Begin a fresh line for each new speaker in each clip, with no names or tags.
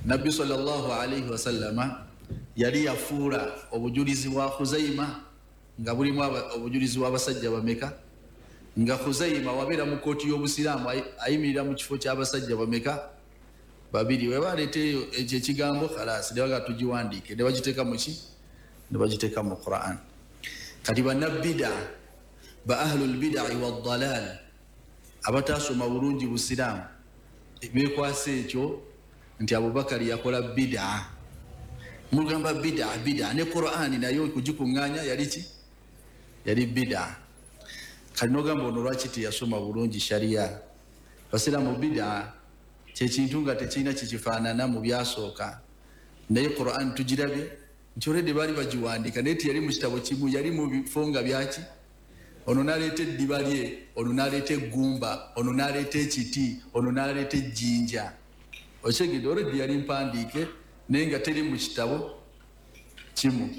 Nabbi sallallahu alaihi wasallama yali yafuula obujulizi bwa Khuzaima nga bulimu obujulizi bw'abasajja bameka, nga Khuzaima wabeera mu kooti y'obusiraamu ayimirira mu kifo ky'abasajja bameka? Babiri. We baleeta eyo ekyo ekigambo khalasi ne baga tugiwandiike, ne bagiteeka mu ki? Ne bagiteeka mu Quran. Kati bannabida ba ahlul bidai waddalal abataasoma bulungi busiraamu bekwasa ekyo nti Abubakari yakola bida. Mugamba bida bida, ne Qurani nayo okugikuŋŋaanya yali ki? Yali bida. Kati nogamba ono lwaki teyasoma bulungi sharia? Basiraamu, bida kyekintu nga tekirina kikifaanana mu byasooka, naye Quran tugirabye nti olwedde baali bagiwandiika, naye teyali mu kitabo kimu, yali mu bifo nga byaki. Ono naleeta eddiba lye, ono naleeta eggumba, ono naleeta ekiti, ono naleeta ejjinja. Okyegedde? Olwedde yali mpandiike, naye nga teri mu kitabo kimu.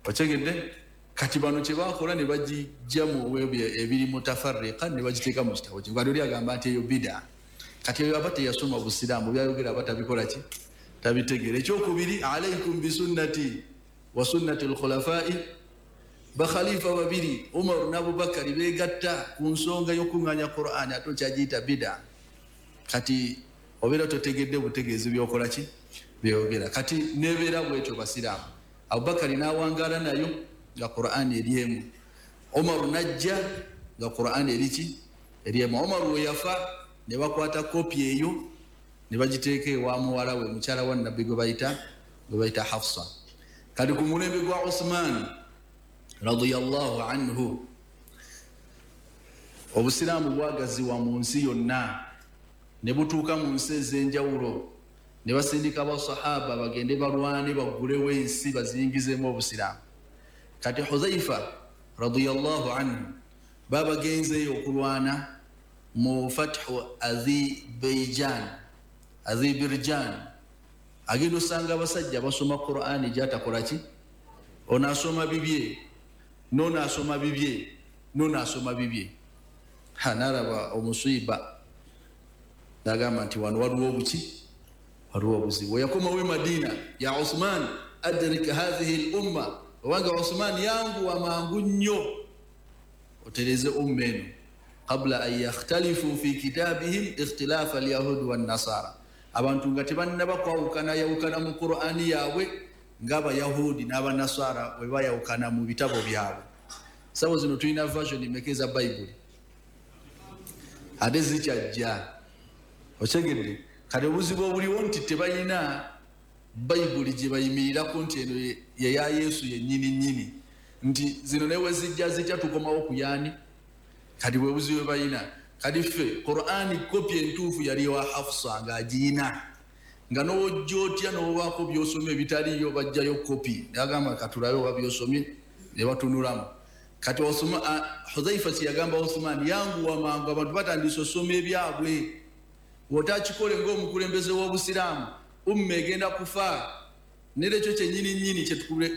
Okyegedde? Kati bano kyebakola ne bagijja mu ebyo ebiri mutafarriqa ne bagiteeka mu kitabo kimu. Kati oli agamba nti eyo bida. Kati eyo aba teyasoma busiraamu, byayogera aba tabikola ki? Tabitegeera. Ekyokubiri, alaikum bisunnati wa sunnati lkhulafai, bakhalifa babiri Umaru n'Abubakari begatta ku nsonga y'okuŋŋaanya Qur'ani, ate okyagiyita bida. Kati obeera totegedde butegeezi byokola ki, byogera. Kati nebeera bwetyo basiraamu, Abubakari n'awangaala nayo nga Qur'ani eri emu, Umaru najja nga Qur'ani eri ki? Eri emu. Umaru we yafa ne bakwata kopi eyo ne bagiteeka ewa muwala we, mukyala wa Nabbi gwe bayita Hafsa. Kati ku mulembe gwa Uthman radiyallahu anhu, obusiraamu bwagaziwa mu nsi yonna ne butuuka mu nsi ez'enjawulo, ne basindika basahaba bagende balwane baggulewo ensi baziyingizemu obusiraamu. Kati Huzaifa radiyallahu anhu babagenzeeyo okulwana mu fathu Azibeijan, Azibirjan. Agenda osanga abasajja basoma Qurani gyatakolaki, ono asoma bibye, nono asoma bibye, nono asoma bibye. Ha, nalaba omusiiba, nagamba nti wano waliwo obuki, waliwo obuzibu. Yakomawo e Madina, ya Uthman, adrik hathihi l umma, obanga Uthman, yanguwa mangu nnyo otereze umma eno, qabla an yakhtalifu fi kitabihim ikhtilafa alyahudi wannasara. Abantu nga tebannaba kwawukana yawukana mu Qurani yaabwe ng'Abayahudi n'Abanasara bwe bayawukana mu bitabo byabwe. Sawa zino tulina version meka eza Bayibuli? Ate zikyajja. Okyegedde? Kati obuzibu obuliwo nti tebalina Bayibuli gye bayimirirako nti eno yeya Yesu yennyini nnyini, nti zino newe zijja zijja tukomawo ku yaani. Kati bwe buzibu bwe balina. Kati ffe Qurani kopi entuufu yali wa Hafusa ng'agiyina, nga nowojja otya nobaako byosomye ebitaliyo, bajjayo kopi nagamba katulabe oba byosomye, ne batunulamu. Kati Hudhaifa kyeyagamba Uthman, yanguwa mangu, abantu batandise osoma ebyabwe, wotakikole ngaomukulembeze w'obusiraamu umma egenda kufa. Nera ekyo kyenyini nyini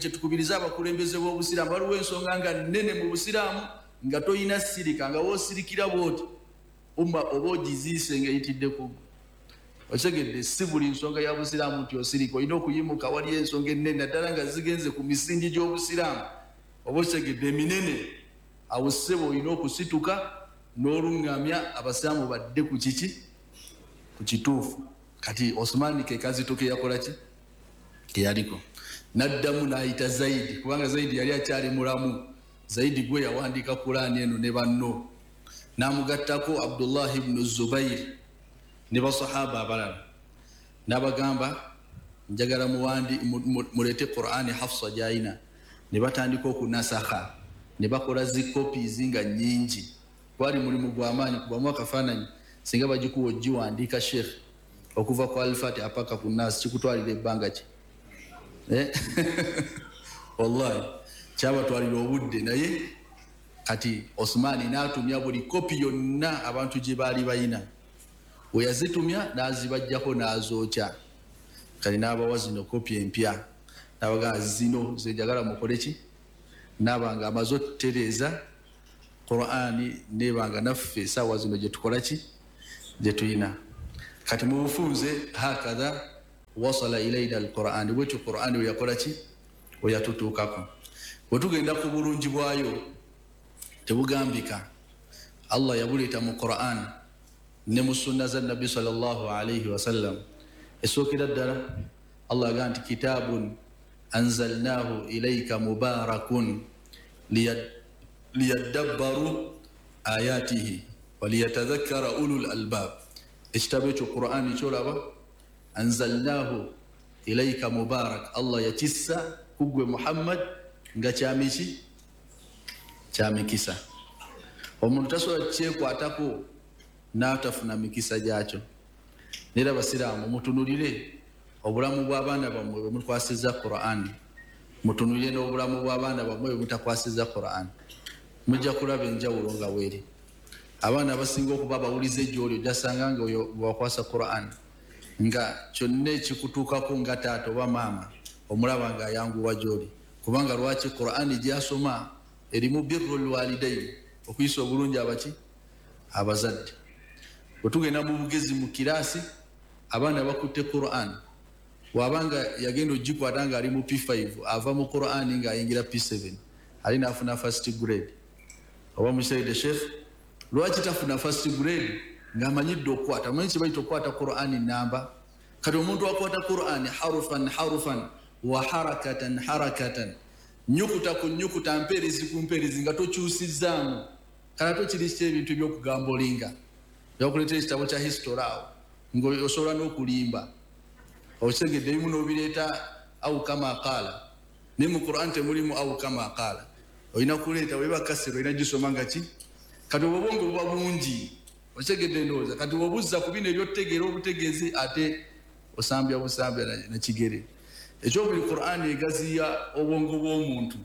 kyetukubiriza abakulembeze b'obusiraamu. Waliwo ensonga nga nene mu busiraamu nga toyina sirika, nga woosirikira bwoti umma oba ogiziise nga eyitidde ku gwe. Okitegedde? Si buli nsonga ya busiraamu nti osirika, olina okuyimuka. Waliyo ensonga ennene naddala nga zigenze ku misingi gy'obusiraamu, oba okitegedde, eminene, awo ssebo olina okusituka n'oluŋŋamya abasiraamu badde ku kiki? Ku kituufu. Kati Osumani ke kazito ke yakola ki, keyaliko, naddamu n'ayita Zaidi, kubanga Zaidi yali akyali mulamu. Zaidi gwe yawandiika Kulaani eno ne banno, n'amugattako Abdullahi bnu Zubairi ne basahaba abalala, n'abagamba njagala muleete Qurani Hafsa gyayina. Ne batandika okunasakha ne bakola zi copies nga nyingi. Gwali mulimu gwamaanyi. Kubamu akafaananyi, singa bagikuwa ogiwandiika, sheikh, okuva ku Alfatiha paka ku Nasi, kikutwalira ebbanga ki? Eh? Wallahi kyabatwalira obudde. Naye kati Osmaani n'atumya buli kopi yonna abantu gye baali bayina. We yazitumya n'azibajjako n'azookya. Kati n'abawa zino kopi empya, n'abagamba zino zenjagala mukole ki. Naaba nga amaze otutereeza Qurani, nebanga naffe esaawa zino gyetukola ki, gyetulina. Kati mu bufunze hakatha. Wasala ilaina alqurani, bwetyo Qurani weyakola ki? Weyatutuukako. Bwe tugenda ku bulungi bwayo tebugambika. Allah yabuleeta mu Quran ne mu sunna za Nabbi sallallahu alaihi wasallam. Esookera ddala Allah agamba nti kitabun anzalnahu ilaika mubarakun liyadabbaru ayatihi waliyatadhakkara ulul albab. Ekitabo ekyo Qur'ani kyolaba, anzalnahu ilaika mubarak, Allah yakissa kugwe Muhammad nga kyamiki? Kyamikisa. Omuntu tasobola kyekwatako n'atafuna mikisa gyakyo. Nera abasiraamu mutunulire obulamu bw'abaana bammwe bwe mukwasizza Qur'ani, mutunulire n'obulamu bw'abaana bammwe bwe mutakwasizza Qur'ani, mujja kulaba enjawulo nga weeri. Abaana abasinga okuba abawulize gy'oli ojjasanga nga oyo bwewakwasa Qur'ani nga kyonna ekikutuukako nga taata oba maama omulaba nga ayanguwa gy'oli, kubanga lwaki? Qur'ani gy'asoma erimu birrul walidaini, okuyisa obulungi abaki? Abazadde. Bwe tugenda mu bugezi mu kiraasi, abaana bakutte Qur'an, bw'abanga yagenda ogikwata ng'ali mu P5, ava mu Qur'ani ng'ayingira P7, ali n'afuna first grade. Oba musaide Sheikh, lwaki tafuna first grade ng'amanyidde okukwata? Omanyi kye bayita okukwata Qur'ani namba? Kati omuntu akwata Qur'ani harufan harufan wa harakatan harakatan, nyukuta ku nyukuta, mpeerezi ku mpeerezi, nga tokyusizzaamu. Kale ate okiri ki ebintu eby'okugamba olinga byakuleetera ekitabo kya history awo ng'osobola n'okulimba, okitegedde, ebimu n'obireeta au kama qaala, naye mu Qur'an temulimu au kama qaala. Olina kuleeta weba kasiro, olina gisoma nga ki? Kati obwo obwongo buba bungi, okitegedde ndowooza. Kati obuzza ku bino ebyokutegeera obutegeezi, ate osambya busambya nakigere. Ekyokubiri, Qur'an egaziya obwongo bw'omuntu.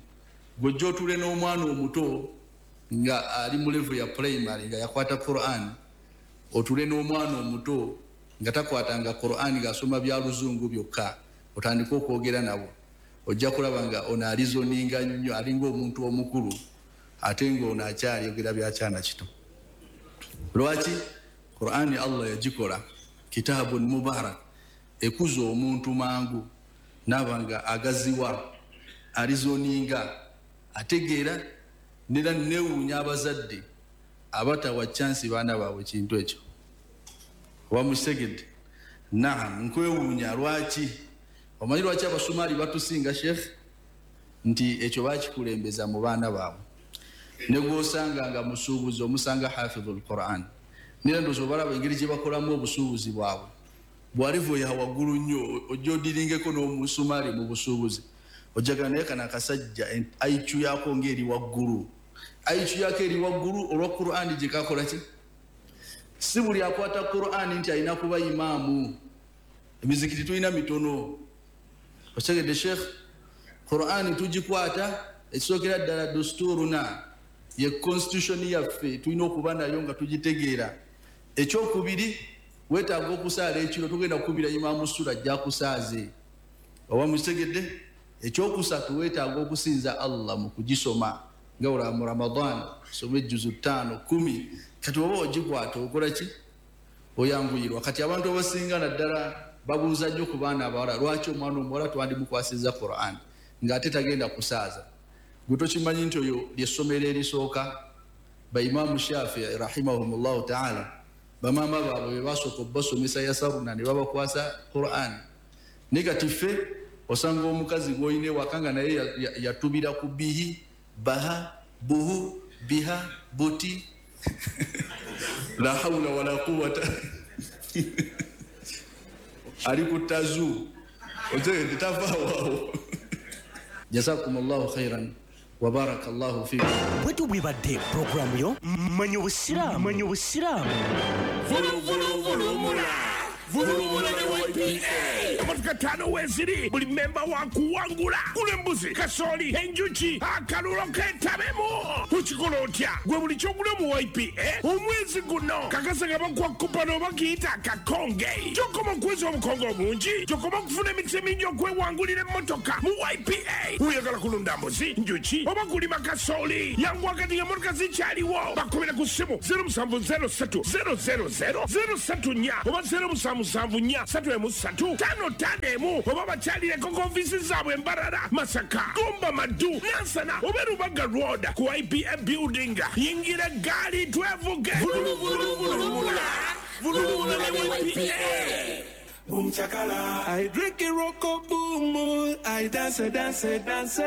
Gw'ojja otuule n'omwana omuto nga ali mu level ya primary nga yakwata Qur'an, otuule n'omwana omuto nga takwatanga Qur'an ng'asoma bya luzungu byokka, otandike okwogera nabo, ojja kulaba nga ono alizoninga nnyo, alinga omuntu omukulu, ate ng'ono akyayogera byakyana kito. Lwaki? Qur'ani Allah yagikola kitabun mubarak, ekuza omuntu mangu naaba nga agaziwa, alizoninga, ategeera. Nera neewuunya abazadde abatawa chansi baana baabwe kintu ekyo. Oba mukitegedde? Naam, nkwewuunya lwaki. Omanyi lwaki Abasumaali batusinga Sheikh? Nti ekyo bakikulembeza mu baana baabwe. Ne gw'osanga nga musuubuzi omusanga hafidhul Quran. Nera ndowooza obalaba engeri gye bakolamu obusuubuzi bwabwe, bwalivu ya waggulu nnyo. Ojja odiringeko n'omusumaali mu busuubuzi, ojjagala naye kano akasajja IQ yako ng'eri waggulu, IQ yako eri waggulu olwa Qur'ani gye kakola ki? Si buli akwata Qur'ani nti alina kuba imaamu. Emizikiti tulina mitono, okitegedde Sheikh? Qur'ani tugikwata, ekisookera ddala dusturuna, ye constitution yaffe, tulina okuba nayo nga tugitegeera. Ekyokubiri, weetaaga okusaala ekiro, tugenda kukubira imaamu sura ajja kusaaze, oba mukitegedde? Ekyokusatu, weetaaga okusinza Allah mu kugisoma, nga olaba mu Ramadan soma ejjuzu 5 10. Kati oba ogikwata okola ki? Oyanguyirwa. Kati abantu abasinga naddala babuuza nnyo ku baana abawala, lwaki omwana omuwala twandimukwasizza Qur'an ng'ate tagenda kusaaza? Gwe tokimanyi nti oyo lyessomero erisooka. Baimaamu Shafii rahimahumullahu taala, bamaama baabwe be basooka okubasomesa yasaruna ne babakwasa Qur'an. Naye kati ffe osanga omukazi gw'olina ewaka nga naye yatubira ku bihi baha buhu biha buti la hawula wala quwata, ali ku tazu, otegedde, tavaawo. Jazakum llahu khairan wa baraka llahu fikum.
Bwetyo bwebadde puroguramu yo Manya Obusiraamu. Manya Obusiraamu.
Vuluvuluvulumula vulumula ne YPA. Emotoka 5 weeziri, buli memba wa kuwangula. Gula embuzi, kasooli, enjuki, akalulo ketabemu. Ukikola otya? Gwe buli kyogula mu YPA omwezi guno kakasa nga bakuwa kupano oba kiyita akakonge. Gy'okoma okuweza obukonge obungi, gy'okoma okufuna emikisa emingi okwewangulira emmotoka mu YPA. Oyagala kulunda mbuzi, njuki oba kulima kasooli, yanguwa kati ng'emmotoka zikyaliwo. Bakubira ku ssimu 0703 000 034 oba 0774 313 55. 5 1 oba bakyalireko ku ofiisi zaabwe Mbarara, Masaka, Gomba, Maddu, Nansana oba Rubaga Road ku IPA building. Yingira gaali twevuge. Vuluvuluvuluvula, vuluvula ne YPA.
Boom chakala. I drink a rocko boom. I dance, dance, dance.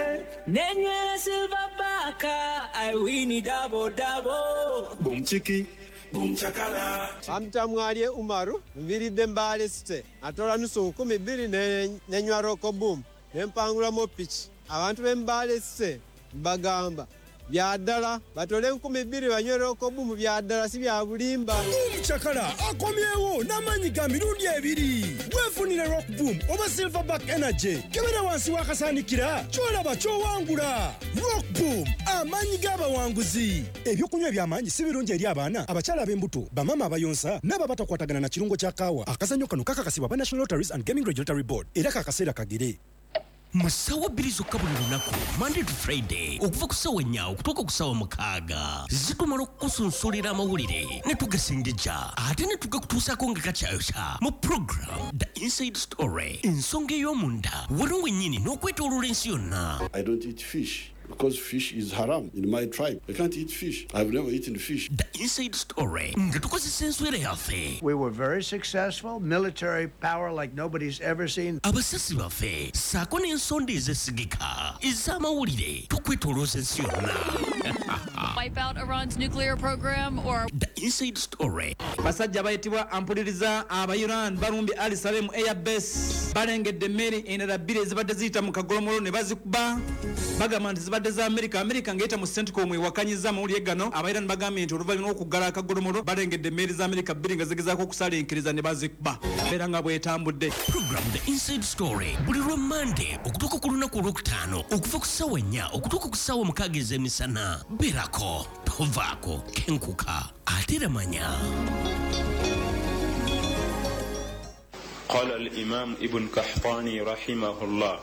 Nenywera silver baka, I win double double.
Boom chiki. Boom chakala.
Bampita Mwalye Umaru, nviiridde Mbale City. Atola 2,000 nenywa Roco Boom, nempangulamu piki. Abantu b'e Mbale City mbagamba bya ddala batole 2,000 banywe Roco Boom, bya ddala si bya bulimba.
Boom Chakala akomyewo n'amaanyi ga mirundi ebiri. Weefunire Rock Boom oba Silverback Energy. Kebera wansi w'akasaanikira ky'olaba ky'owangula. Rock Boom, amaanyi g'abawanguzi. Ebyokunywa eby'amaanyi si birungi eri abaana, abakyala ab'embuto, bamaama abayonsa n'abo abatakwatagana na kirungo kya kaawa. Akazannyo kano kakakasibwa ba National Lotteries and Gaming Regulatory Board era kakaseera kagere.
Mu ssaawa 2 zokka buli lunaku, Monday to Friday, okuva ku ssaawa 4 okutuuka ku ssaawa 6, zitumala okukusunsulira amawulire ne tugasengejja ate ne tugakutuusaako nga gakyayokya mu program The Inside Story, ensonga ey'omunda wano wennyini n'okwetooloola ensi yonna.
I don't eat fish because fish is haram in my tribe. I can't eat fish. I've never eaten fish.
The Inside Story nga tukozesa enswera yaffe.
We were very successful, military power like nobody's ever seen.
Abasasi baffe ssaako n'ensonda ezesigika ez'amawulire tukwetoolooza ensi yonna.
Wipe out Iran's nuclear program or
The Inside Story.
Basajja bayitibwa ampuliriza aba Iran balumbye Ali Salem Airbase, balengedde emmeri endala bbiri ezibadde ziyita mu kagolomolo ne bazikuba. Bagamba nti zibadde za Amerika. Amerika ng'eyita mu CENTCOM ewakanyiza amawulire gano. Aba Iran bagambye nti oluvannyuma lw'okuggala akagolomolo balengedde emmeri za Amerika bbiri nga zigezaako okusalinkiriza ne bazikuba. Beera nga bwetambudde.
Program The Inside Story buli lwa Mande okutuuka ku lunaku olwokutaano okuva ku ssaawa 4 okutuuka ku ssaawa 6 ez'emisana. Beerako, tovaako, kenkuka ate era manya.
قال الإمام ابن قحطاني رحمه الله: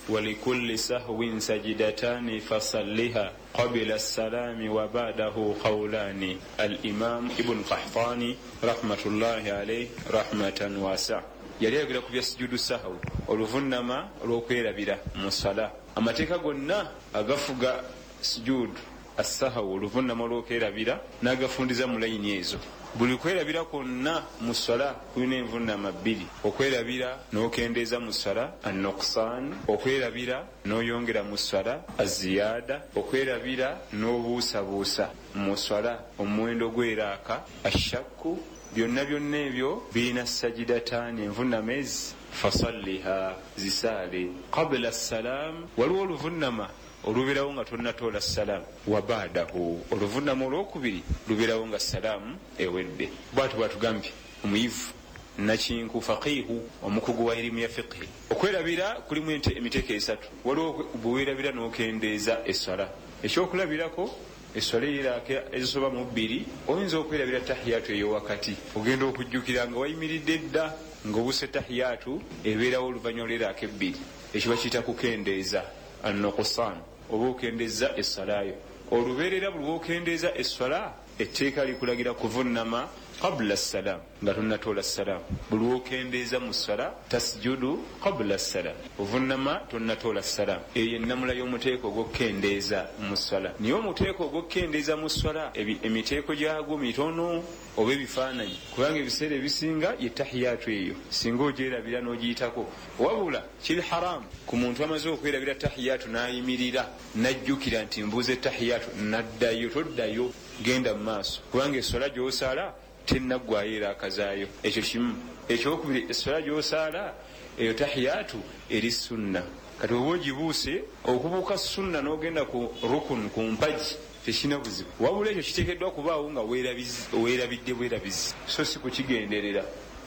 ولكل سهو سجدتان فصلها قبل السلام وبعده قولان. الإمام ابن قحطاني رحمة الله عليه رحمة واسعة yali ayogera ku bya sujudu sahawi, oluvunama olw'okwerabira mu sala. Amateeka gonna agafuga sujudu assahawi, oluvunama olw'okwerabira, n'agafundiza mu layini ezo. Buli kwerabira kwonna mu swala kulina envunama bbiri: okwerabira n'okendeeza mu swala, annuqsan, okwerabira n'oyongera mu swala, aziyada, okwerabira n'obuusabuusa mu swala, omuwendo gw'eraaka, ashakku. Byonna byonna ebyo birina sajidataani, envunama ezi, fasalliha, zisaale, qabula salam. Waliwo oluvunama olubeerawo nga tonnatoola salaamu, wa baadahu, oluvunama olwokubiri lubeerawo nga salaamu ewedde. Bwatu bwatugambye omuyivu nakinku faqihu, omukugu wa erimu ya fiqhi. Okwerabira kulimu emiteeko esatu. Waliwo bwewerabira n'okendeeza esswala. Ekyokulabirako, esswala eyiraaka ezisoba mu bbiri, oyinza okwerabira tahiyatu ey'owakati, ogenda okujjukira nga wayimiridde dda ng'obuuse tahiyatu ebeerawo oluvannyuma lw'eraaka ebbiri. Ekyo bakiyita kukendeeza, annuqsan, oba okendeeza esswalayo. Olubeerera buli lw'okendeeza esswala, etteeka likulagira kuvunama qabula salam, nga tonnatoola salam. Buli lw'okendeeza mu swala, tasjudu qabula salam, ovunama tonnatoola salam. Eyo ennamula y'omuteeko ogw'okukendeeza mu swala. Naye omuteeko ogw'okukendeeza mu swala, emiteeko gyagwo mitono oba ebifaananyi, kubanga ebiseera ebisinga ye tahiyatu eyo singa ogyerabira n'ogiyitako. Wabula kiri haramu ku muntu amaze okwerabira tahiyatu n'ayimirira n'ajjukira nti mbuuza tahiyatu n'addayo. Toddayo, genda mu maaso, kubanga esswala gy'osaala tennaggwayo era akazaayo. Ekyo kimu. Ekyokubiri, esswala gy'osaala eyo tahiyatu eri sunna. Kati oba ogibuuse, okubuuka sunna n'ogenda ku rukun, ku mpagi, tekirina buzibu. Wabula ekyo kiteekeddwa kubaawo nga weerabidde bwerabizi, so si kukigenderera.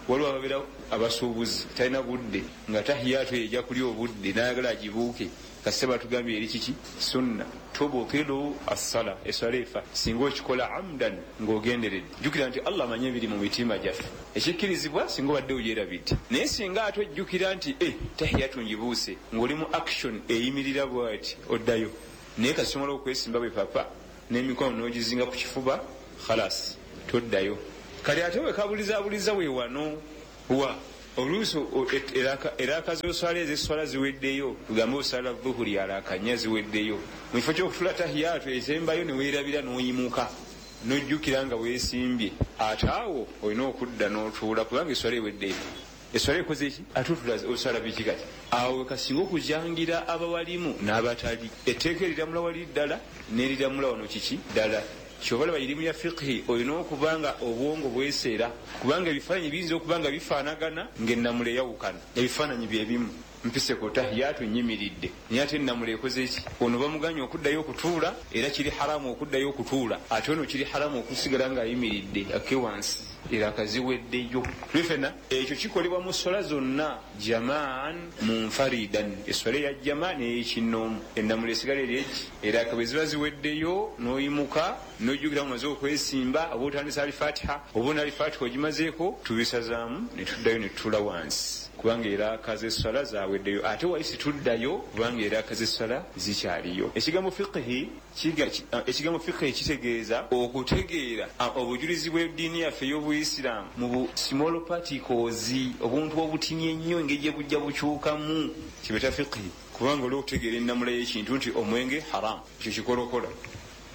Waliwo ababeera abasuubuzi, talina budde, nga tahiyatu eyo ejja kulya obudde n'ayagala agibuuke. Kasita batugambye eri kiki? Sunna. Tubutilu assala, eswala efa singa okikola amdan, ng'ogenderedde. Jjukira nti Allah amanyi ebiri mu mitima gyaffe. Ekikkirizibwa singa obadde ogyerabidde, naye singa ate ojjukira nti tahiyatu ngibuuse, ng'oli mu action eyimirira bwati, oddayo. Naye kasita omala okwesimba bwe papa n'emikono n'ogizinga ku kifuba, khalas, toddayo. Kati ate wekabulizaabuliza we wano wa Oluusi eraka z'oswala ez'esswala ziweddeyo, tugambe osala dhuhuri alaka 4 ziweddeyo, mu kifo ky'okutula tahiyatu esembayo ne weerabira n'oyimuka n'ojjukira nga weesimbye, ate awo olina okudda n'otuula kubanga esswala eweddeyo. Esswala ekoze ki? Ate otula osala biki kati? Awo wekasinga okujangira abawalimu n'abatali. Etteeka eriramula wali ddala n'eriramula wano kiki ddala. Kyobalaba irimu ya fiqhi olina okuba nga obwongo bweseera, kubanga ebifaananyi biyinza okuba nga bifaanagana ng'ennamula eyawukana. Ebifaananyi bye bimu, mpise ku tahiyatu nnyimiridde, naye ate ennamula ekoze ki? Ono bamuganye okuddayo okutuula, era kiri haramu okuddayo okutuula, ate ono kiri haramu okusigala ng'ayimiridde akke wansi, era akaziweddeyo. Tuli fenna ekyo kikolebwa mu sswala zonna, jamaan munfaridan, esswala eya jama n'eyekinnoomu, ennamula esigala eri egi, era bwe ziba ziweddeyo n'oyimuka n'ojjukira omaze okwesimba, oba otandise alifatiha oba ona alifatiha ogimazeeko, tubisazaamu ne tuddayo ne tutuula wansi kubanga eraka z'esswala zaweddeyo, ate wali situddayo kubanga eraka z'esswala zikyaliyo. Ekigambo fiqhi ekigambo fiqhi kitegeeza okutegeera obujulizi bw'eddiini yaffe ey'Obuyisiraamu mu bu small particles, obuntu obutini ennyo engeri gye bujja bukyukamu, kibeta fiqhi, kubanga oli okutegeera ennamula y'ekintu nti omwenge haramu, ekyo kikolokola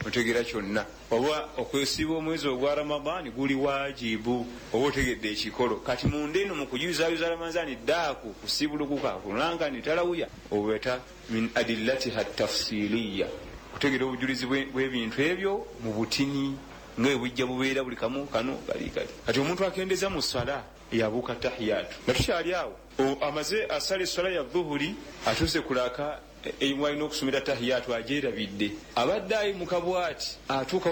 otegeera kyonna, oba okwesiiba omwezi ogwa Ramadhaani guli waajibu, oba otegedde ekikolo. Kati munda eno mu kuyuzayuza Ramadhaani ddaaku kusiibulukuka kulanga ni talawuya, obeta min adillatiha tafsiliya, kutegeera obujulizi bw'ebintu ebyo mu butini nga bwe bujja bubeera buli kamu kano kali kali. Kati omuntu akendeza mu ssala yabuuka tahiyatu, nga tukyali awo amaze asala esswala ya dhuhuri, atuuse kulaka walina okusomera tahiyatu agyerabidde, abadde ayimuka bwati atuuka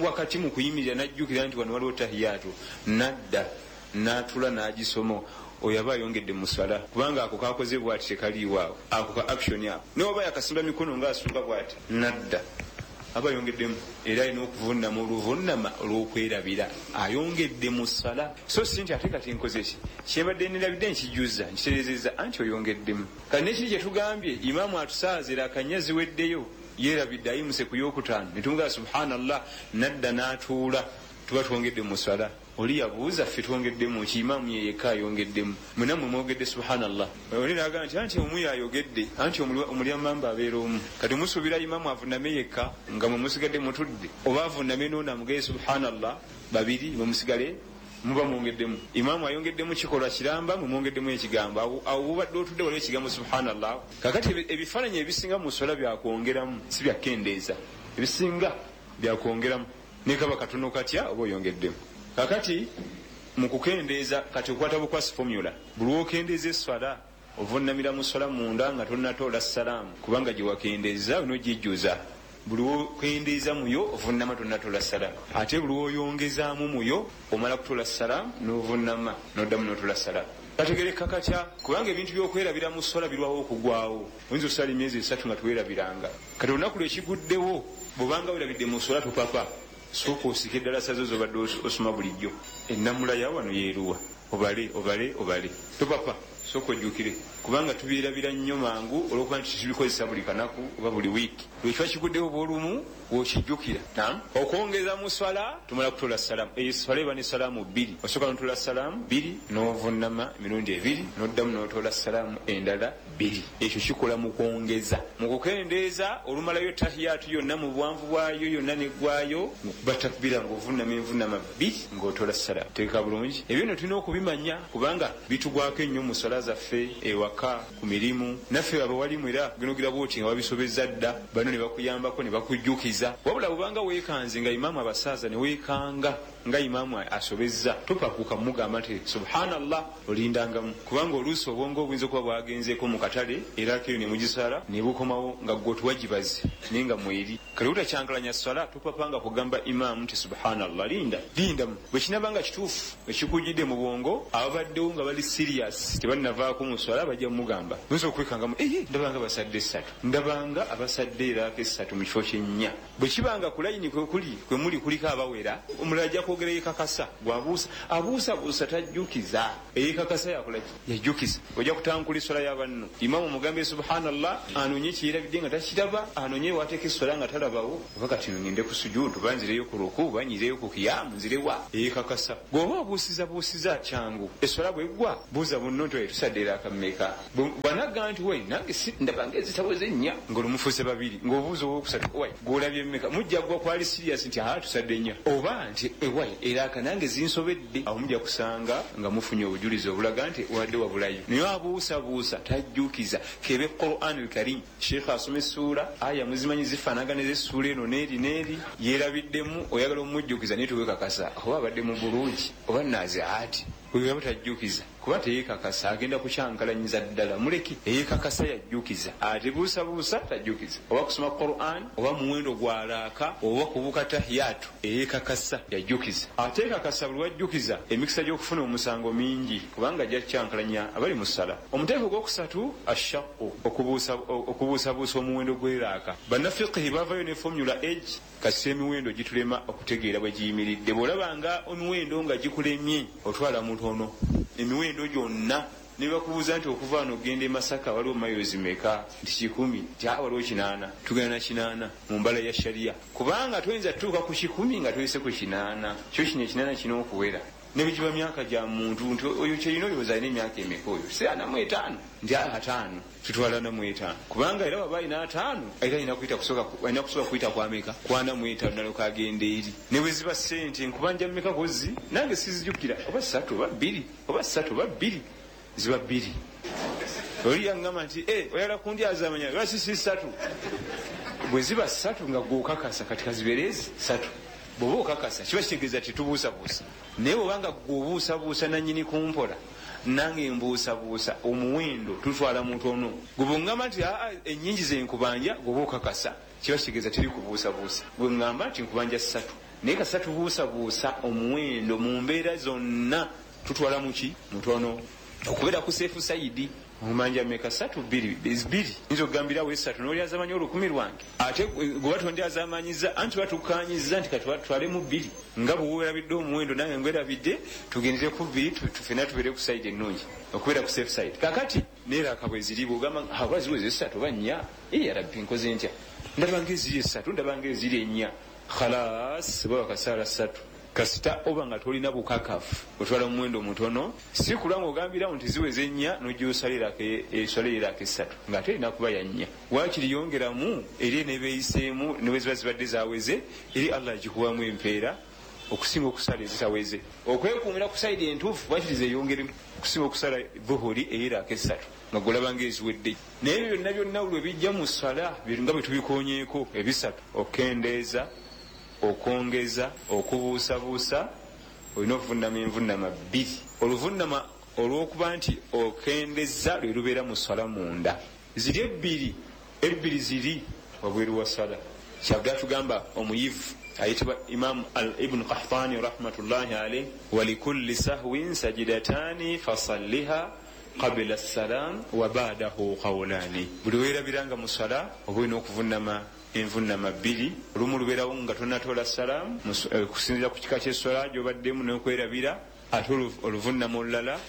wakati mu kuyimirira n'ajjukira nti wano waliwo tahiyatu, nadda n'atula n'agisoma, oyo aba ayongedde mu sswala kubanga ako kakoze bwati tekaliiwo awo, ako ka action ako, naye oba yakasimba mikono ng'asuuka bwati nadda, aba ayongeddemu, era alina okuvunnama oluvunnama olw'okwerabira, ayongedde mu ssala. So si nti ate kati nkoze ki kyembadde nerabidde nkijuza nkitereezezza, anti oyongeddemu. Kati nekiri kye tugambye, imaamu atusaaza eraka 4 ziweddeyo, yeerabidde ayimuse ku yookutaano, ne tumugamba subhanallah, nadda n'atuula, tuba twongedde mu ssala. Oli yabuuza ffe twongeddemu ki? Imaamu ye yekka ayongeddemu, mwenna mmwe mwogedde subhanallah. Oli n'agamba nti anti omu yayogedde, anti omulyamamba abeera omu. Kati musuubira imaamu avunname yekka nga mwe musigadde mutudde, oba avunname n'ono amugeye subhanallah babiri mwe musigale muba mwongeddemu. Imaamu ayongeddemu kikolwa kiramba, mwe mwongeddemu ekigambo. Awo bubadde otudde waliwo ekigambo subhanallah. Kakati ebifaananyi ebisinga mu sswala byakwongeramu, si byakukendeeza. Ebisinga byakwongeramu, ne kaba katono katya oba oyongeddemu. Kakati mu kukendeeza kati okwata bukwasi formula, buli lw'okendeeza esswala ovunnamira mu sswala munda nga tonnatoola salaamu, kubanga gye wakendeeza onogijjuza. Buli lw'okendeeza muyo ovunnama tonnatoola salaamu, ate buli lw'oyongezaamu muyo omala kutoola salaamu n'ovunnama n'oddamu n'otoola salaamu. Kategereka katya? Kubanga ebintu by'okwerabira mu sswala birwawo okugwawo. Oyinza okusala emyezi 3 nga teweerabiranga, kati olunaku lwekiguddewo bw'obanga weerabidde mu sswala topapa, sooka osike eddalasa zo z'obadde osoma bulijjo, ennamula ya wano yeeruwa, obale obale obale, topapa, sooka ojjukire, kubanga tubyerabira nnyo mangu olw'okuba nti tubikozesa buli kanaku oba buli wiiki. Lwekiba kiguddewo bw'olumu w'okijjukira. Naam, okwongeza mu sswala tumala kutola salaamu. Eyo esswala eba ne salaamu 2, osooka n'otola salaamu 2 n'ovunnama emirundi 2 n'oddamu n'otola salaamu endala 2. Ekyo kikola mu kwongeza. Mu kukendeeza olumalayo tahiyatu yonna mu buwanvu bwayo yonna neggwayo, ng'okuba takbira ng'ovunnama envunnama 2 ng'otola salaamu. Teeka bulungi ebyo nno tulina okubimanya kubanga bitugwako ennyo mu sswala zaffe ewaka, ku mirimu. Naffe abawalimu era genogira bwoti nga babisobezza dda, bano ne bakuyambako ne bakujjukiza. Wabula bw'obanga weekanze nga imaamu abasaaza ne weekanga nga imaamu asobezza, topakuka mugamba nti subhanallah, olindangamu, kubanga oluusi obwongo obuyinza okuba bwagenzeeko mu katale era keyo ne mugisala ne bukomawo nga ggwe otuwagibaze naye nga mweri. Kati obutakyankalanya sswala topapanga kugamba imaamu nti subhanallah, linda lindamu. Bwe kinaaba nga kituufu ekikujjidde mu bwongo, ababaddewo nga bali serious tebannavaako mu sswala bajja mugamba. Oyinza okwekangamu, ndabanga basadde 3, ndabanga abasadde eraaka 3 mu kifo ky'ennya. Bwe kibanga ku layini kwe muli kuliko abawera, omulala ajja kwogera yekakasa, gwabuusa abuusabuusa tajjukiza. Eyekakasa yakolaki? Yajjukiza. Ojja kutankula essola y'abanno, imamu omugambe subhanallah, anonye kyerabidde nga takiraba, anonye wateeka essola nga talabawo, oba kati ngende ku sujudu, oba nzireyo ku ruku, oba nyireyo ku kiyamu, nzirewa. Eyekakasa. Bw'oba obuusizabuusiza kyangu, essola bweggwa buuza munno nti tusadde era akammeka. Bw'anagamba nti we nange ndaba ng'ezitaweze nnya, ng'olumufuuse babiri, ng'obuuza owokusatu owai gw'olabye mmeka, mujja ggwa kwali sirias nti aa tusadde nnya, oba nti ewai era aka nange zinsobedde. Awo mujja kusanga nga mufunye obujulizi obulaga nti wadde wabulayo. Naye abuusabuusa tajjukiza. Kebe Quran al-Karim, Sheikh asoma essuula, aya muzimanyi zifaanagana ez'essuula eno n'eri n'eri, yeerabiddemu, oyagala omujjukiza naye tewekakasa oba abadde mu bulungi oba naaziaati. Oyo aba tajjukiza kuba teyekakasa, agenda kukyankalanyiza ddala. Muleke eyekakasa yajjukiza, ate buusabuusa tajjukiza. Oba kusoma Quran, oba muwendo gwalaaka, oba kubuuka tahiyatu, eyekakasa yajjukiza. Ate ekakasa buli wajjukiza emikisa gy'okufuna omusango mingi, kubanga ajja kukyankalanya abali mu ssala. Omuteeko ogwokusatu ashaqqu, okubuusabuusa omuwendo gw'eraaka. Bannafiqihi bavayo ne formula age, kasita emiwendo gitulema okutegeera bwe giyimiridde. Bw'olabanga emiwendo nga gikulemye, otwala mutono emiwendo gyonna. Ne bakubuuza nti okuva wano ogenda e Masaka waliwo mayozi meka, nti 100, nti waliwo 8, tugenda na 8 mu mbala ya sharia, kubanga toyinza tutuuka ku 100 nga toyise ku 8. Kyo kino 8 kino okuwera ne bigiba myaka gya muntu nti oyo kyerina olowooza alina emyaka emeka, oyo si 45, nti 5, tutwala 45, kubanga era waba alina 5 era alina kusooka kuyita kwameka ku 45 nalyoka agenda eri. Ne bwe ziba ssente nkubanja mmeka kozzi nange sizijjukira, oba 3 oba 2 oba 3 oba 2, ziba 2. Oli yaŋŋamba nti oyagala kundyazaamanya lwaki si 3? Bwe ziba 3 nga gw'okakasa, kati kazibeere ezi 3. Bw'oba okakasa kiba kitegeeza tetubuusabuusa. Naye bw'obanga gw'obuusabuusa nannyini kumpola, nange mbuusabuusa omuwendo tutwala mutono. Gwe bw'oŋŋamba nti ennyingi ze nkubanja, gw'oba okakasa kiba kitegeeza teri kubuusabuusa. Gwe ŋŋamba nti nkubanja 3, naye kasita tubuusabuusa omuwendo mu mbeera zonna tutwala muki? Mutono. Okubeera ku seefu sayidi omanja meka 3 2 2, nzo gambirawo 3 n'olyazamanyi 1000 lwange, ate gwe batondyazamanyiza anti batukanyiza nti katwalemu 2, nga bwe weerabidde omuwendo nange ngwerabidde, tugendere ku 2 tufena tubeere ku sayidi ennungi, okubeera ku safe side. Kakati neeraka bwe ziri, bw'ogamba oba ziweze 3 oba 4, ya Rabbi nkoze ntya, ndaba ng'eziri 3, ndaba ng'eziri 4, khalas baba kasaala 3. Kasita oba nga tolina bukakafu otwala omuwendo mutono, si kulwa ng'ogambirawo nti ziweze 4 n'ojja osalirako 3 ng'ate erina kuba ya 4. Waakiri yongeramu eri eneebeeyiseemu ne bwe ziba zibadde zaweze, eri Allah agikuwamu empeera okusinga okusala ezitaweze. Okwekuumira ku sayidi entuufu waakiri zeeyongeremu okusinga okusala dhuhuri ey'eraaka 3 nga gw'olaba ng'eziwedde. Naye ebyo byonna byonna lwe bijja mu ssala nga bwe tubikonyeeko ebisatu, okukendeeza, okwongeza, okubuusabuusa, olina okuvunnama envunnama 2. Oluvunnama olw'okuba nti okendeza lwe lubeera mu ssala munda, ziri ebbiri ziri wabweru wa ssala. Kyava tugamba omuyivu ayitibwa Imam Ibn Qahtani rahmatullahi alayhi, walikulli sahwin sajidatani fasalliha qabla salam wa ba'dahu qawlani. Buli weerabiranga mu ssala oba olina okuvunnama envunnama 2, olumu lubeerawo nga tonnatoola salaamu okusinziira ku kika ky'esswala gy'obaddemu n'okwerabira, ate oluvunnama olulala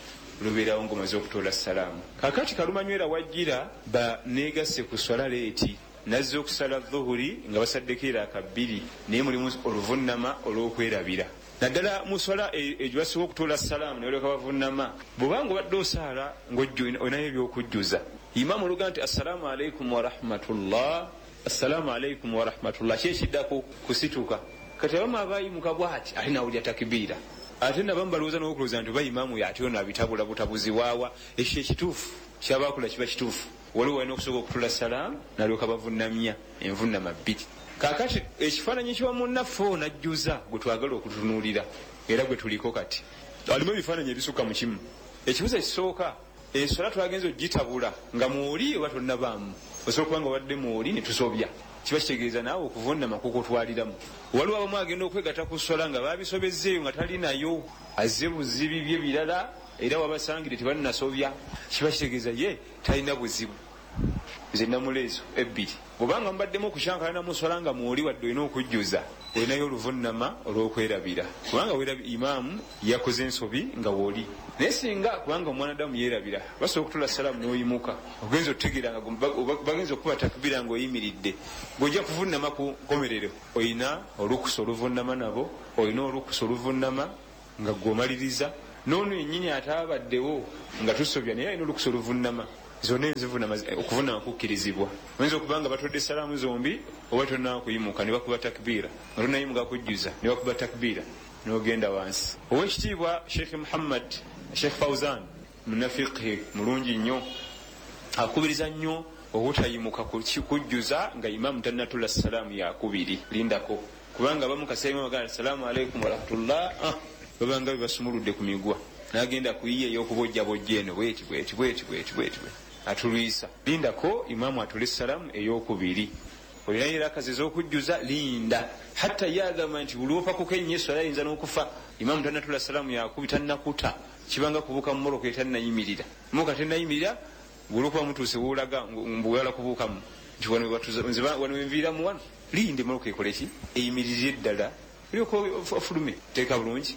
lubeerawo ng'omaze okutoola salaamu. Kaakati kalumanywera wajjira ba neegasse ku sswala leeti, nazze okusala dhuhuri nga basaddeko eraaka 2, naye mulimu oluvunnama olw'okwerabira. Naddala mu sswala egyo basobola okutoola salaamu ne balyoka bavunnama. Bw'obanga obadde osaala ng'olinayo eby'okujjuza, imaamu oluga nti assalaamu alaikum warahmatullah, assalaamu alaikum warahmatullah, ki ekiddako? Kusituka. Kati abamu abayimuka bw'ati ate nawulira takibiira, ate nabamu balowooza n'okulowooza nti oba imaamu ate ono abitabula butabuzi waawa. Ekyo ekituufu kyabakola kiba kituufu. Waliwo walina okusooka okutula salaamu nalyoka bavunnamya envunnama 2. Kaakati ekifaananyi kiwa munnaffe ono ajjuza gwe twagala okutunuulira era gwe tuliko kati, alimu ebifaananyi ebisukka mu kimu. Ekibuuzo ekisooka, enswala twagenza ogitabula nga mwoli oba tonnabaamu? Osobola okuba nga obadde mwoli ne tusobya, kiba kitegeeza naawe okuvunnama kukutwaliramu. Waliwo abamu agenda okwegatta ku sswala nga baabisobezzeeyo nga tali nayo, azze buzibi bye birala, era wabasangire tebannasobya, kiba kitegeeza ye talina buzibu. Zenamula ezo ebbiri, bwobanga mubaddemu okukyankalana muswala nga mwoli wadde olina okujjuza, olinayo oluvunama olw'okwerabira, kubanga imaamu yakoze ensobi nga woli. Naye singa kubanga omwanadamu yeerabira, basobola okutula salaamu n'oyimuka, ogenza otutegeera nga bagenza okukuba takbira nga oyimiridde, ng'ojja kuvunama ku nkomerero, olina olukusa oluvunama nabo, olina olukusa oluvunama nga gwomaliriza n'ono yennyini ataabaddewo nga tusobya, naye alina olukusa oluvunama. Zonna enzivunama, okuvunama kukkirizibwa. Oyinza okuba nga batodde salaamu zombi oba tonnaba kuyimuka ne bakuba takbiira, nga tonnayimuka kujjuza ne bakuba takbiira n'ogenda wansi. Owekitiibwa Sheikh Muhammad Sheikh Fauzan munafiqhi mulungi nnyo, akubiriza nnyo obutayimuka kujjuza nga imaamu tannatula salaamu yakubiri. Lindako, kubanga abamu kaseera imamu agamba assalaamu alaikum warahmatullah, babanga bebasumuludde ku migwa, nagenda kuyiya ey'okubojjabojja eno bweti bweti bweti bweti bweti atulwisa. Lindako imaamu atule salaamu ey'okubiri, olinayo erakazi ez'okujjuza, linda. Hatta ye agamba nti buli opakuka ennyo eswala ayinza n'okufa. Imaamu tannatula salaamu yakubi, tannakuta, kibanga kubuuka mu mmotoka etannayimirira. Mmotoka tennayimirira, olwokuba mutuuse woolaga mbuwala kubuukamu nti wano wenviiramu wano, linda emmotoka ekole ki, eyimirire ddala, olyoka ofulume. Teeka bulungi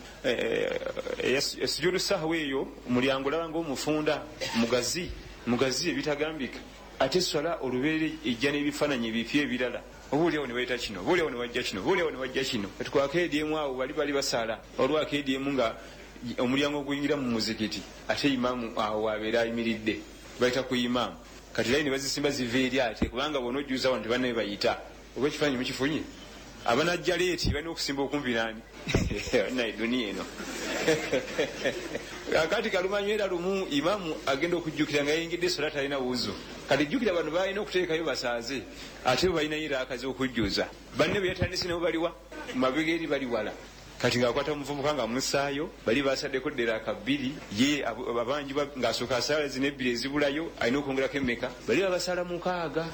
esujudu sahwa eyo, omulyango olaba ngaomufunda mugazi mugazi ebitagambika. Ate swala olubeere ejja n'ebifaananyi ebipya ebirala, oba oliawo ne baleeta kino, oba oliawo ne wajja kino, oba oliawo ne wajja kino. Kati emu awo bali basaala olwako emu nga omulyango oguyingira mu muzikiti, ate imaamu awo abeera ayimiridde, bayita ku imaamu. Kati layini bazisimba ziva eri, ate kubanga bona ojjuza wano tebannabe bayita. Oba ekifaananyi mukifunye? Abanajja leeti balina okusimba okumpi nani naye duniya eno. Kakati kalumanywera lumu imaamu agenda okujjukira nga yayingidde sola talina wuzu. Kati jjukira bano balina okuteekayo basaaze, ate bo balinayo eraakazi okujjuza. Banne bwe yatandise nabo baliwa mabega eri, bali wala. Kati ng'akwata omuvubuka nga musaayo, bali basaddeko ddera bbiri, ye abangi ng'asooka asaala zino ebbiri ezibulayo, alina okwongerako emmeka? Bali babasala 6.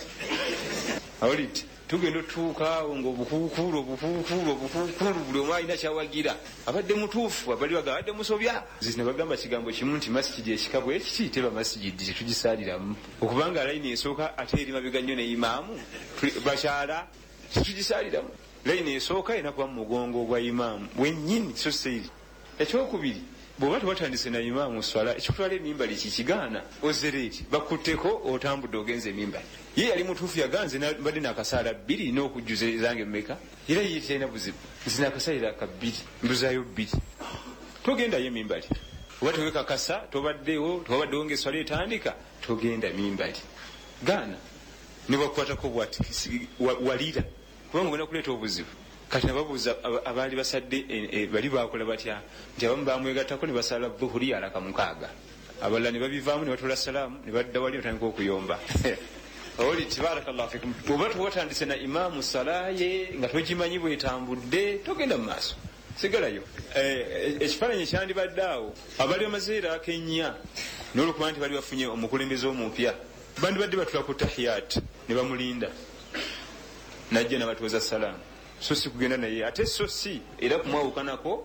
Awulidde tugenda otutuuka awo ngaobukuukulu obukuukulu obukuukulu, buli omu alina kyawagira, abadde mutuufu, abali baga abadde musobya. Nze bagamba kigambo kimu nti masigidi ekika bwe kiti teba masigidi, tetugisaaliramu, okubanga layini esooka ate eri mabega nnyo ne imaamu bakyala, tetugisaaliramu. Layini esooka erina kuba mu mugongo gwa imaamu wennyini, so seiri. Ekyokubiri, bw'oba tewatandise na imaamu swala, ekikutwala emimbali kikigaana ozereeti bakutteko, otambudde ogenza emimbali. Ye yali mutuufu, yaganze mbadde nakasaala 2 n'okujjuza ezange mmeka, era ye talina buzibu, nze nakasalira ka 2 mbuzaayo 2. Togendayo emimbali oba tewekakasa, tobaddewo, tewabaddewo ngaeswala etandika, togenda mimbali, gaana nebakukwatako bwati walira, kubanga ogenda kuleeta obuzibu. Kati nababuuza abaali basadde bali bakola batya, nti abamu bamwegattako ne basala dhuhuri alaka 6, abalala ne babivaamu ne batula salaamu ne badda wali batandika okuyomba. Oli tibarakallahu fikum, bw'oba tewatandise na imaamu salaye nga togimanyi bwetambudde, togenda mu maaso, sigalayo. Ekifaananyi ekyandibadde awo, abali bamaze eraaka 4 n'olwokuba nti bali bafunye omukulembeze omupya, bandibadde batula ku tahiyat ne bamulinda najja nabatuuza salaamu, so si kugenda naye ate, so si era kumwawukanako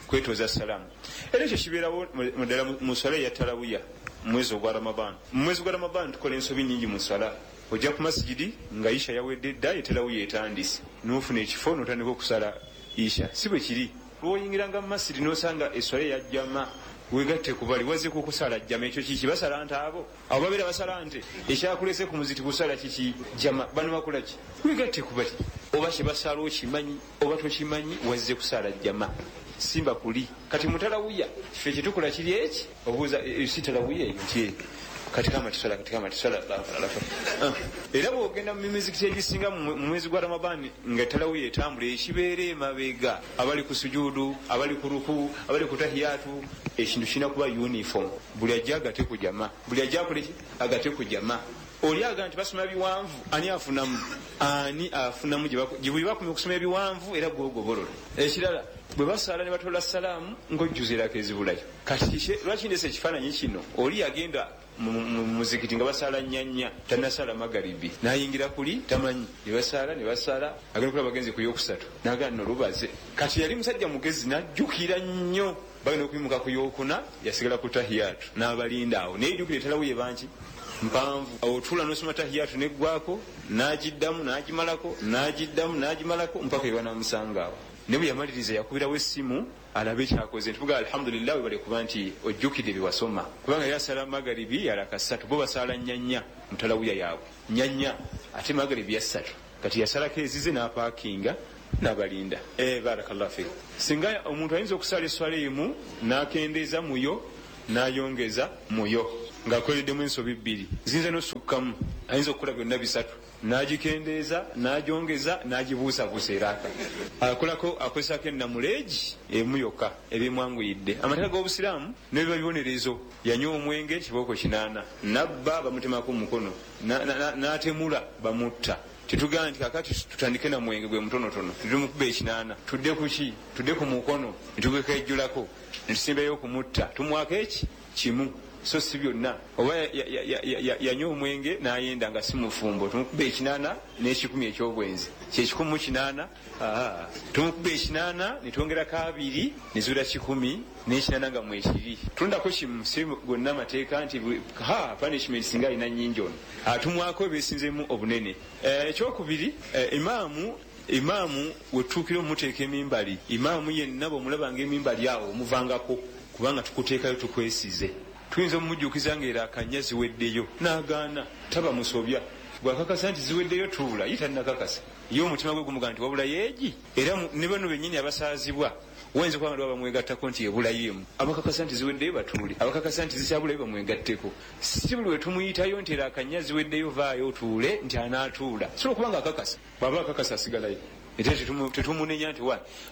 kwetooza salaamu. Era ekyo kibeerawo muddala mu swala eya tarawuya mu mwezi ogwa Ramadan. Mu mwezi gwa Ramadan tukola ensobi nyingi mu swala. Ojja ku masigidi nga isha yawedde dda, eterawuya etandise, n'ofuna ekifo n'otandika okusala isha. Si bwe kiri. Lwoyingiranga mu masidi n'osanga eswala eya jama, wegatte ku bali wazze kukusala jama. Ekyo kiki? Basala nte abo abo babeera basala nte. Ekyakulese ku muziti kusala kiki? Jama. Bano bakola ki? Wegatte ku bali, oba kyebasala okimanyi oba tokimanyi, wazze kusala jama, simba kuli. Kati mutalawuya ffe kyetukola kiri eki, obuuza si talawuya eyo nti kati kama tusala, kati kama tusala. Era bwogenda mu mizikiti egisinga mu mwezi gwa Ramadani nga talawuya etambula, ekibeera emabega abali ku sujudu, abali ku ruku, abali ku tahiyatu, ekintu kirina kuba uniform. Buli ajja agate ku jama, buli ajja akoleki agate ku jama. Oli aga nti basoma biwanvu, ani afunamu? Ani afunamu? Gye bakumya okusoma ebiwanvu era gwogobolola. Ekirala, bwe basaala ne batola salaamu ng'ojjuza eraka ezibulayo. Kati lwaki ndese ekifaananyi kino? Oli yagenda mu muzikiti nga basaala nnyanya, tannasala magaribi, n'ayingira kuli tamanyi, ne basaala ne basaala, agenda kulaba bagenze ku yokusatu, n'agamba nno lubaze. Kati yali musajja mugezi, n'ajjukira nnyo, bagenda okuyimuka ku yokuna, yasigala ku tahiyatu n'abalinda awo, naye jjukira etalawo ye banki Mpanvu. Otuula n'osoma tahiyatu neggwako, n'agiddamu n'agimalako, n'agiddamu n'agimalako mpaka we banaamusanga awo. Ne bwe yamaliriza yakubirawo essimu alabe kyakoze. Ntuvuga alhamdulillah, webale kuba nti ojjukidde bye wasoma, kubanga yali asala magaribi yalaka 3, bo basaala 4 mu talawuya yaabwe 4, ate magaribi ya 3. Kati yasalako ezize n'apaakinga n'abalinda. Barakallahu fik. Singa omuntu ayinza okusala esswala emu n'akendeeza muyo n'ayongeza muyo ng'akoleddemu ensobi 2, ziyinza n'osukkamu, ayinza okukola byonna 3, n'agikendeeza n'agyongeza n'agibuusabuusa. Era akolako akozesako ennamuleegi emu yokka ebimwanguyidde. Amateeka g'obusiraamu nebiba bibonerezo. Yanywa omwenge kibooko 8, nabba bamutemako omukono, n'atemula bamutta. Tetugamba nti kakati tutandike na mwenge gwe mutonotono tutumukuba 8, tudde ku ki? Tudde ku mukono netugekejjulako netusimbayo okumutta, tumwako eki kimu, so si byonna. Oba yanywa omwenge n'ayenda nga si mufumbo, tumukuba 8 n'ekikumi eky'obwenzi, kyekikumu 8. Tumukuba 8 netwongerako 2 nezuula 108 nga mwekiri. Tulondako kimu, si gonna amateeka nti punishment singa alina nnyingi ono atumwako ebeesinzeemu obunene. Ekyokubiri, imaamu wetutuukira omuteeka emimbali, imaamu yenna bw'omulabanga emimbali awo omuvangako, kubanga tukuteekayo tukwesize. Tuyinza omumujjukiza ng'era akanya ziweddeyo n'agaana, taba musobya. Bw'akakasa nti ziweddeyo tuula, ye tannakakasa, ye omutima gwe gumugamba nti wabulayo egi. Era ne bano bennyini abasaazibwa wayinza okuba nga bamwegattako nti ebulayo emu, abakakasa nti ziweddeyo batuule, abakakasa nti zikyabulayo bamwegatteko. Si buli we tumuyitayo nti era akanya ziweddeyo vaayo otuule nti anaatuula, sobola okuba nga akakasa. Bw'aba akakasa asigalayo, ate tetumunenya nti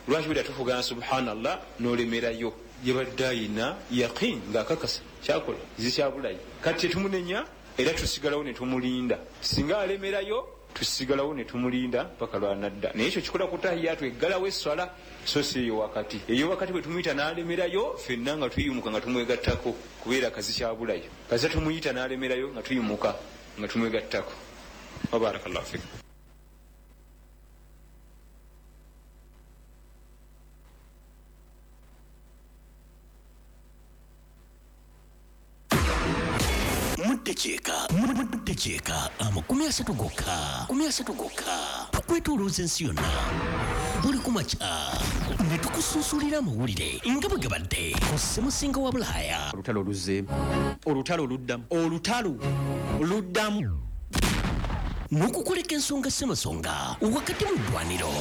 lwaki bweda tufugana subhanallah n'olemerayo. Yabadde ayina yaqin ng'akakasa kyakola zikyabulayo. Kati tetumunenya era tusigalawo ne tumulinda. Singa alemerayo tusigalawo ne tumulinda mpaka lwanadda. Naye ekyo kikola ku tahiyatu eggalawo esswala, so si eyo wakati. Eyo wakati bwe tumuyita n'alemerayo ffenna nga tuyimuka nga tumwegattako, kubeera kazi kyabulayo. Kazi tumuyita n'alemerayo nga tuyimuka nga tumwegattako. Wa barakallahu fik.
Muddekyeka 30 gokka, 30 gokka, tukwetoolooza ensi yonna buli kumakya ne tukusunsulira amawulire nga bwe gabadde ku ssemusinga wa Bulaaya.
Olutalo luzzeemu, olutalo luddamu, olutalo luddamu,
n'okukoleka ensonga ssemasonga wakati mu ddwaniro.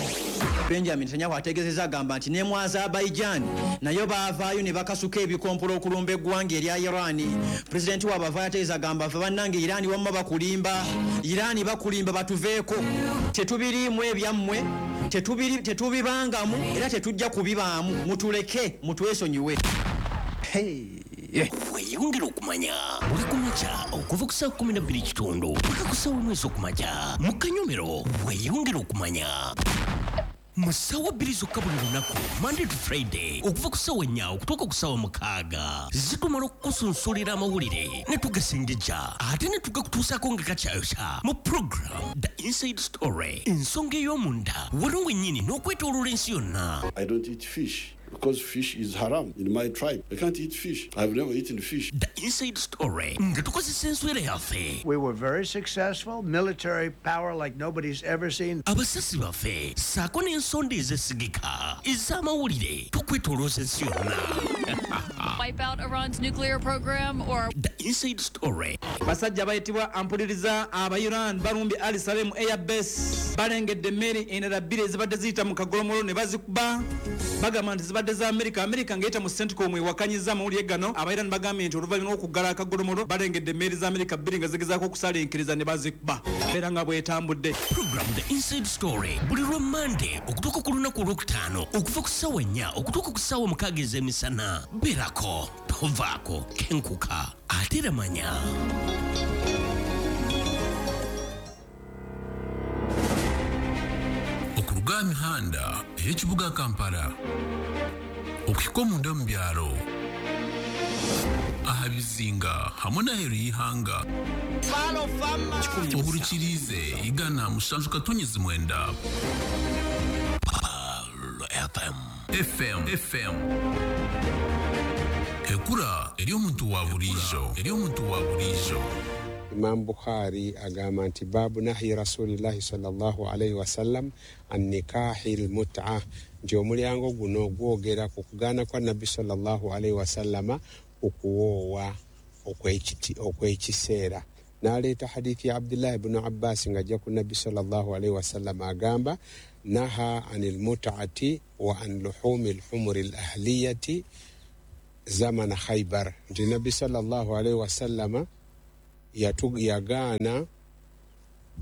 Benjamin Netanyahu ategeezezza agamba nti ne mu Azerbaijan nayo baavaayo ne bakasuka ebikompola okulumba eggwanga erya Iran. Pulezidenti waabwe avaayo ategeeza agamba ffe bannange Iran wamma bakulimba, Iran bakulimba, batuveeko, tetubiriimu ebyammwe, tetubibangamu era tetujja kubibaamu, mutuleke mutwesonyiwe.
Weeyongere okumanya buli kumakya okuva ku ssaawa 12:15 paka ku ssaawa 1 ez'okumakya mu kanyomero. Weeyongere okumanya mu ssaawa 2 zokka buli lunaku, Monday to Friday, okuva ku ssaawa 4 okutuuka ku ssaawa 6. Zitumala okukusunsulira amawulire ne tugasengejja ate ne tugakutuusaako nga kakyayokya mu program The Inside Story, ensonga ey'omunda wano wennyini n'okwetooloola ensi yonna.
I don't eat fish because fish is haram in my tribe. I can't eat fish. I've never eaten fish.
The Inside Story nga tukozesa enswera yaffe.
We were very successful, military power like nobody's ever seen.
Abasasi baffe ssaako n'ensonda ezesigika ez'amawulire tukwetoolooza ensi yonna.
Wipe out Iran's nuclear program or
The Inside Story.
Basajja bayitibwa ampuliriza aba Iran balumbye Ali Salem Air Base, balengedde emmeri endala 2 ezibadde ziyita mu kagolomolo ne bazikuba. Bagamba nti zibadde za Amerika, Amerika ng'eyita mu CENTCOM ewakanyiza amawulire gano. Aba Iran bagambye nti oluvannyuma lw'okuggala akagolomolo balengedde emmeri za Amerika 2 nga zigezaako okusalinkiriza ne bazikuba, era nga bwetambudde.
Program The Inside Story buli lwa Monday okutuuka ku lunaku olwokutaano okuva ku ssaawa 4 okutuuka ku ssaawa 6 ez'emisana. Beerako, tovaako, kenkuka ate era manya.
Okuruga mihanda ey'ekibuga Kampala okuhika omunda mu byaro aha bizinga hamwe n'aheeru y'ihanga ohurikirize 107.9
FM
FM FM ekura eri omuntu wa burijo, eri omuntu wa burijo.
Imam Bukhari agamba nti babu nahyi rasulillahi sallallahu alaihi wasallam an nikahi lmuta, nti omulyango guno gwogera ku kugaana kwa Nabbi sallallahu alaihi wasallama okuwoowa okw'ekiseera. N'aleeta hadithi ya Abdullahi ibnu Abbas ng'ajja ku Nabbi sallallahu alaihi wasallama agamba naha ani lmutaati wa an luhumi lhumuri lahliyati zamana Khaibar, nti Nabbi sallallahu alaihi wasallama yagaana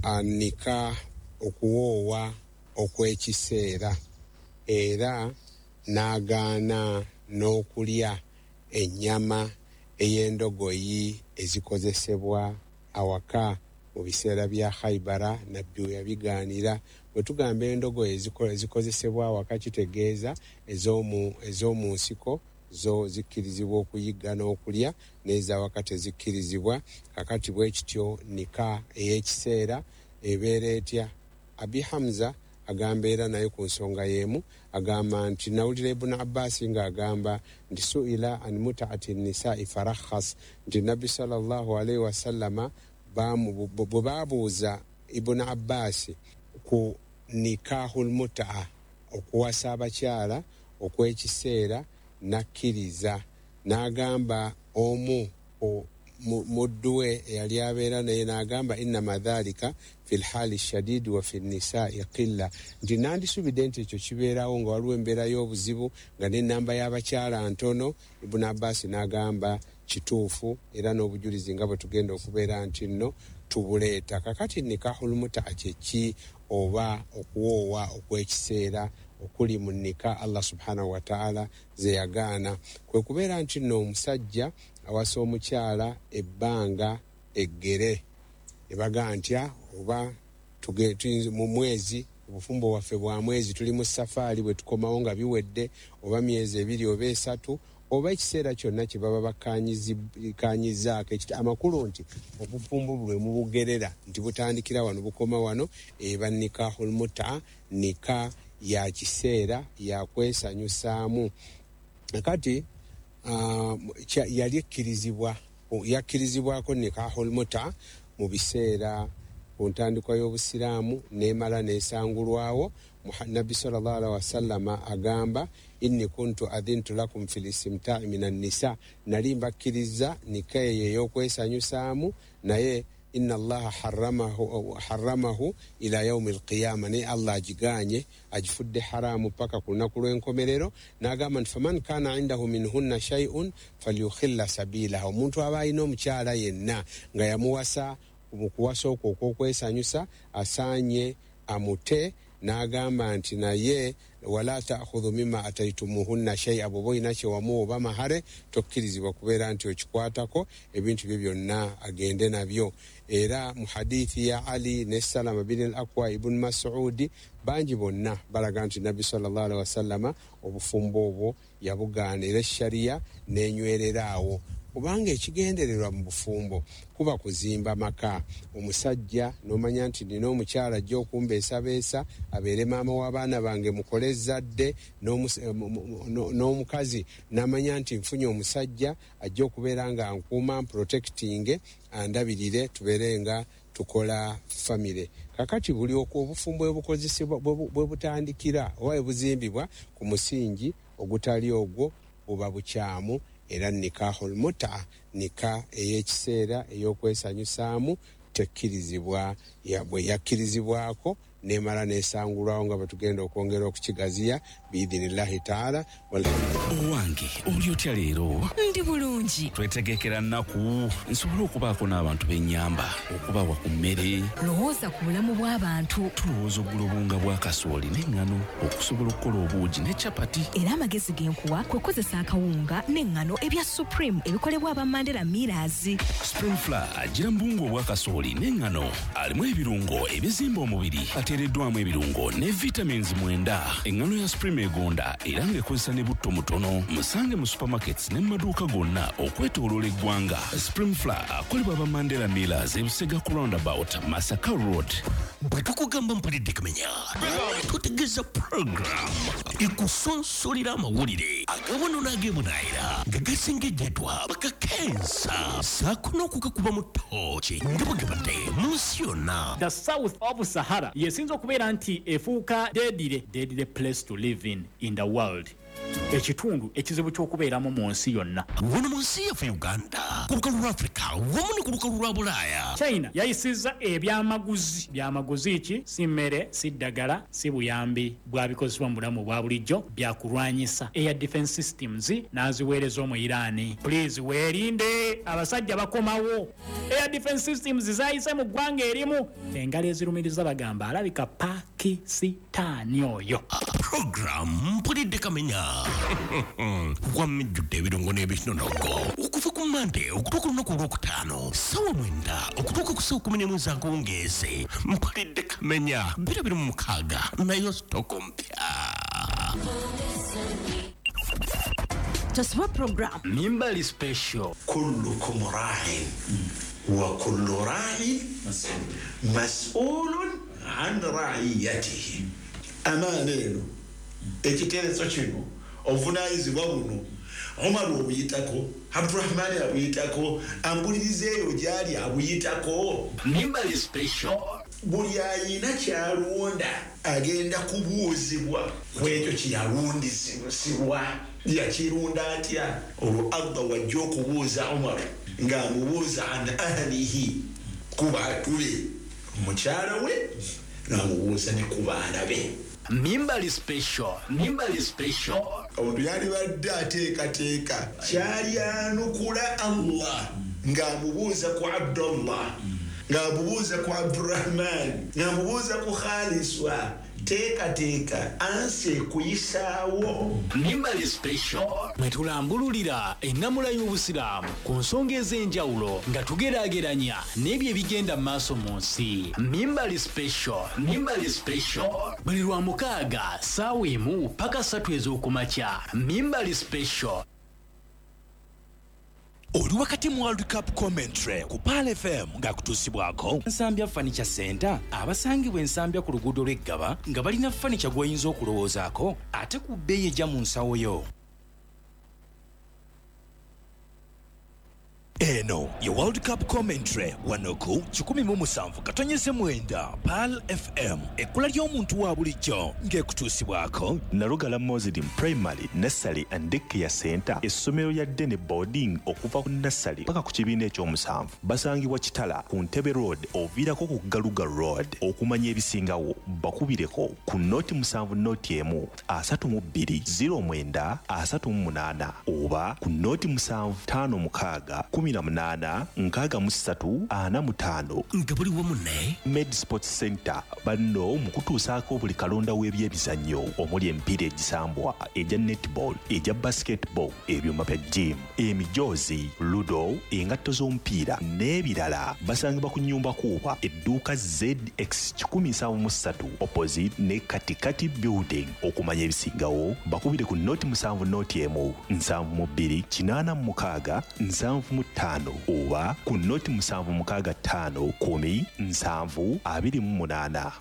anika okuwoowa okw'ekiseera, era n'agaana n'okulya ennyama ey'endogoyi ezikozesebwa awaka mu biseera bya Khaibara. Nabbi we yabigaanira. Bwe tugamba endogoyi ezikozesebwa awaka kitegeeza ez'omu nsiko zo zikkirizibwa okuyigga n'okulya, n'ezawaka tezikkirizibwa. Kakati bwe kityo nika ey'ekiseera ebeera etya? Abi Hamza agamba era naye ku nsonga y'emu, agamba nti nawulira Ibunu Abbasi ng'agamba nti suila an mutaati nisai farakhas, nti Nabbi sallallahu alaihi wasallama bwe baabuuza Ibunu Abbasi ku nikahul mutaa, okuwasa abakyala okw'ekiseera, nakkiriza n'agamba omu muddu we eyali abeera naye n'agamba innama dhalika fi lhali shadidi wa fi nisai qilla, nti nandisubidde nti ekyo kibeerawo nga waliwo embeera y'obuzibu nga n'ennamba y'abakyala ntono. Ibunu Abbasi n'agamba kituufu, era n'obujulizi nga bwe tugenda okubeera nti nno tubuleeta. Kakati nikahul mutaa kyeki, oba okuwoowa okw'ekiseera okuli mu nika Allah subhanahu wataala ze yagaana, kwe kubeera nti nno omusajja awasa omukyala ebbanga eggere, ne bagaa ntya oba mu mwezi, obufumbo bwaffe bwa mwezi, tuli mu safaari, bwe tukomawo nga biwedde, oba myezi 2 oba 3 oba ekiseera kyonna kye baba bakkanyizaako. Amakulu nti obufumbo bwe mubugerera nti butandikira wano bukoma wano, eba nikahul muta, nika ya kiseera ya kwesanyusaamu. Kati yali yakkirizibwako nikahul muta mu biseera ku ntandikwa y'Obusiraamu, n'emala n'esangulwawo. Nabbi sallallahu alaihi wasallama agamba inni kuntu adhintu lakum fil istimta'i minan nisa, nali mbakkiriza nika eyo ey'okwesanyusaamu, naye inna Allaha harramahu ila yaumi alqiyama, naye Allah agiganye agifudde haramu paka ku lunaku lw'enkomerero. N'agamba nti faman kana indahu minhunna shay'un falyukhilla sabilaha, omuntu aba alina omukyala yenna nga yamuwasa mu kuwasa okwo okw'okwesanyusa asaanye amute. N'agamba nti naye wala ta'khudhu mimma ataitumuhunna shay'a, bw'oba olina kye wamuwa oba mahare tokkirizibwa kubeera nti okikwatako, ebintu bye byonna agende nabyo. Era mu hadithi ya Ali ne Salama bin al-Akwa ibn Mas'udi, bangi bonna balaga nti Nabbi sallallahu alaihi wasallama obufumbo obwo yabugaana, era sharia n'enywerera awo, kubanga ekigendererwa mu bufumbo kuba kuzimba maka. Omusajja n'omanya nti nina omukyala ajja okumbeesabeesa abeere maama w'abaana bange mukole ezzadde, n'omukazi n'amanya nti nfunye omusajja ajja okubeera nga nkuuma, mprotectinge, andabirire, tubeere nga tukola famire. Kakati buli obufumbo bwe bukozesebwa bwe butandikira oba bwe buzimbibwa ku musingi ogutali ogwo buba bukyamu. Era nikahul muta, nika ey'ekiseera ey'okwesanyusaamu tekkirizibwa, bwe yakkirizibwako nemala nesangulwawo nga bwe tugenda okwongera okukigaziya biidhinillahi taala.
Owange, oli otya leero?
Ndi bulungi.
Twetegekera nnaku nsobole okubaako n'abantu b'ennyamba, okubawa ku mmere.
Lowooza ku bulamu bw'abantu.
Tulowooza okugula obuwunga bwa kasooli n'eŋŋano okusobola okukola obuugi ne capati.
Era amagezi ge nkuwa kwe kukozesa akawunga n'eŋŋano ebya Supreme ebikolebwa aba Mandela Millers.
Supreme Flour agira mu buwunga obwa kasooli n'eŋŋano, alimu ebirungo ebizimba omubiri, ateereddwamu ebirungo ne vitamins 9. Eŋŋano ya Supreme egonda era ng'ekozesa ne butto mutono. Musange mu supermarkets ne mu maduuka gonna okwetooloola eggwanga. Supreme Flour akolebwa aba Mandela Millers, Ebusega ku roundabout, Masaka Road.
Bwe tukugamba mpulidde kamenya, tutegeeza program ekusonsolera amawulire agawano n'agebunaayira nga gasengejjedwa bakakensa saako n'okugakuba mu ttooki nga bwe gabadde mu nsi yonna.
The south of Sahara yesinza okubeera nti efuuka deadly place to live in the world, ekitundu ekizibu ky'okubeeramu mu nsi yonna.
Wano mu nsi yaffe Uganda, ku lukalu lwa Afrika wamu ne ku lukalu lwa Bulaaya,
China yayisizza ebyamaguzi. Byamaguzi ki? Si mmere, si ddagala, si buyambi bwabikozesebwa mu bulamu bwa bulijjo, byakulwanyisa air defense systems n'aziweereza omu Iran. Please weerinde, abasajja bakomawo. Air defense systems zayise mu ggwanga erimu. Engalo ezirumiriza bagamba alabika Pakisitaani oyo.
Program mpulidde kamenya wamijjudde ebirungo n'ebinonogo okuva ku Mande okutuuka olunaku olwokutaano ssaawa 9 okutuuka ku ssaawa 11 z'akawungeezi. Mpulidde kamenya 2026 nayo sitoko mpya.
Taswa program
Mimbali special.
Kullukum ra'in wa kullu ra'in mas'ulun an ra'iyatihi.
Amaana eno ekiteeso kino obuvunaanyizibwa buno Omar obuyitako, Abdurahman abuyitako, ambuliriza eyo gyali abuyitako.
Mimbali special.
Buli ayina kyalonda agenda kubuuzibwa ku ekyo kyeyalundisibwa. Yakirunda atya? Olwo Allah wajja okubuuza Omar ng'amubuuza an ahlihi, ku bantu be, mukyala we, n'amubuuza ne ku baana be.
Mimbali special. Mimbali special.
Omuntu yalibadde ateekateeka kyalyanukula Allah ng'amubuuza ku Abdullah, ng'amubuuza ku Abdurahman, ng'amubuuza ku Khaliswa. Teekateeka ansi ekuyisaawo.
Mimbali special. Mwe tulambululira ennamula y'Obusiraamu ku nsonga ez'enjawulo nga tugeraageranya n'ebyo ebigenda mu maaso mu nsi. Mimbali special. Mimbali special. Buli lwa mukaaga ssaawa 1 paka 3 ez'okumakya. Mimbali special.
Oli wakati mu World Cup commentary ku Pearl FM ng'akutuusibwako
Nsambya Furniture Center abasangibwa Ensambya ku luguudo lw'Eggaba nga balina furniture gw'oyinza okulowoozaako ate ku bbeeyi ejja mu nsawo yo.
Eno ye World Cup commentary wano ku 107.9 Pearl FM, ekkula ly'omuntu wa bulijjo ng'ekutuusibwako
Nalugala Muslim Primary Nursery and Daycare Center, essomero lya Dene Boarding okuva ku nursery paka ku kibiina ekyomusanvu. Basangibwa Kitala ku Ntebe Road oviirako ku Galuga Road. Okumanya ebisingawo bakubireko ku 07 01 32 09 38 oba ku 07 56 18 63 45.
Nga buli wamu ne
Med Sports Center banno mu kutuusaako buli kalonda w'ebyemizannyo omuli emipiira egisambwa, egya netball, egya basketball, ebyuma bya gym, emijoozi, ludo, engatto z'omupiira n'ebirala. Basangibwa ku nnyumba kuuba edduuka ZX 173 opposite ne Katikati Building. Okumanya ebisingawo bakubire ku 07 01 72 86 75 oba ku 0765 10 7 28.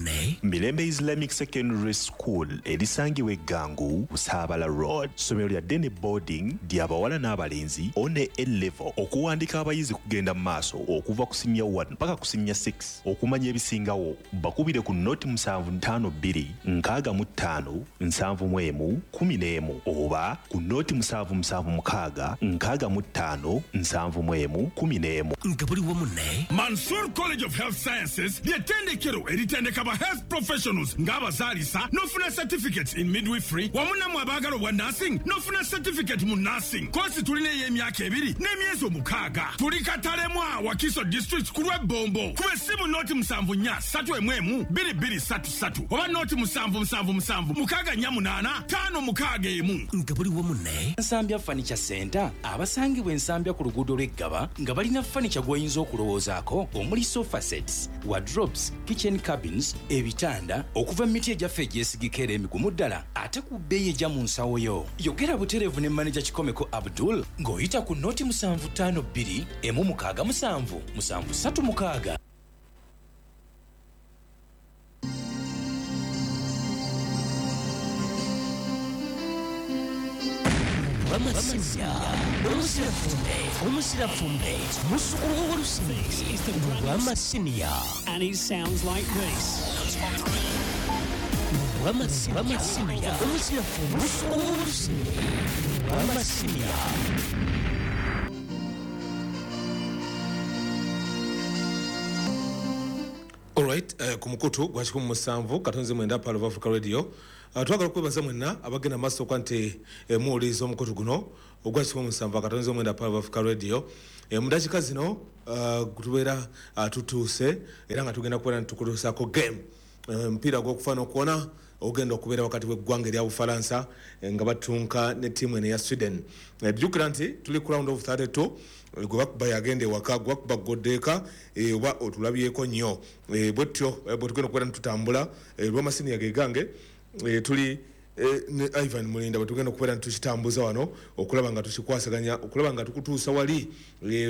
Mirembe Islamic Secondary School erisangibwa Eggangu, Busaabala Road. Ssomero lya Dene Boarding ly'abawala n'abalenzi one A level. Okuwandika abayizi kugenda mu maaso okuva ku siniya 1 paka ku siniya 6. Okumanya ebisingawo bakubire ku 0752 65 71 11 oba ku 0776 65 71 11.
Nga buli wamu ne
Mansour College of Health Sciences ly'ettendekero eritendeka ba health professionals ng'abazaalisa n'ofuna certificates in midwifery wamu nammwe abaagala obwa nursing n'ofuna certificate mu nursing. Koosi tulina ey'emyaka 2 n'emyezi 6. Tuli Katalemwa, Wakiso District ku lw'Ebbombo. Kuba essimu 074 311 2233 oba 0777 648 561.
Nga buli wamu ne
Nsambya Furniture Center abasangibwa Ensambya ku luguudo lw'Eggaba nga balina furniture gw'oyinza okulowoozaako omuli sofa sets, wardrobes, kitchen cabins, ebitanda okuva mu miti egyaffe egyesigika era emigumu ddala ate ku bbeeyi ejja mu nsawo yo. Yogera butereevu ne maneja Kikomeko Abdul ng'oyita ku 0752 167 736.
Lwamasinya Omusira Fumbe Musukulu w'Olusimbi Lwamasinya.
And he sounds like this.
Lwamasinya Omusira Fumbe Musukulu w'Olusimbi Lwamasinya.
Alright, ku mukutu gwa 17.9 Pearl of Africa Radio. Twagala okwebaza mwenna abagenda maaso okuba nti muwuliriza omukutu guno ogwa 17.9 Pearl of Africa Radio. Mu dakiika zino tubeera tutuuse era nga tugenda kubeera nitukutuusaako game, omupiira gw'okufa n'okuwona ogenda okubeera wakati w'eggwanga erya Bufalansa nga batunka ne ttiimu eno eya Sweden. Jjukira nti tuli ku round of 32, gwe bakuba yagenda ewaka, gwe bakuba goddeeka oba otulabyeko nnyo. Bwetyo bwe tugenda okubeera nitutambula lw'amasiniya ge gange, tuli ne Ivan Mulinda bwe tugenda okubeera nitukitambuza wano okulaba nga tukikwasaganya, okulaba nga tukutuusa wali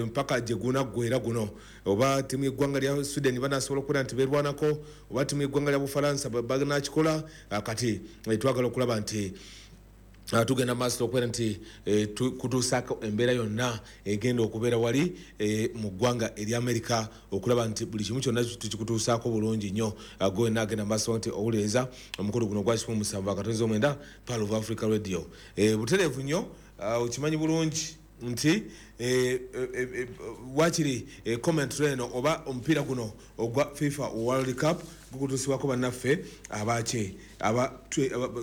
mpaka gye gunaggwera guno. Oba ttiimu y'eggwanga lya Sweden banaasobola okubeera nti beerwanako, oba ttiimu y'eggwanga lya Bufalansa banakikola. Kati twagala okulaba nti tugenda maaso okubeera nti kutuusaako embeera yonna egenda okubeera wali mu ggwanga erya Amerika, okulaba nti buli kimu kyonna tukikutuusaako bulungi nnyo. Gwe agenda maaso nti owuliriza omukulu guno gwa 17.9 Pearl of Africa Radio. Butereevu nnyo, okimanyi bulungi nti wakiri commentary eno oba omupiira guno ogwa FIFA World Cup gukutuusibwako bannaffe abaki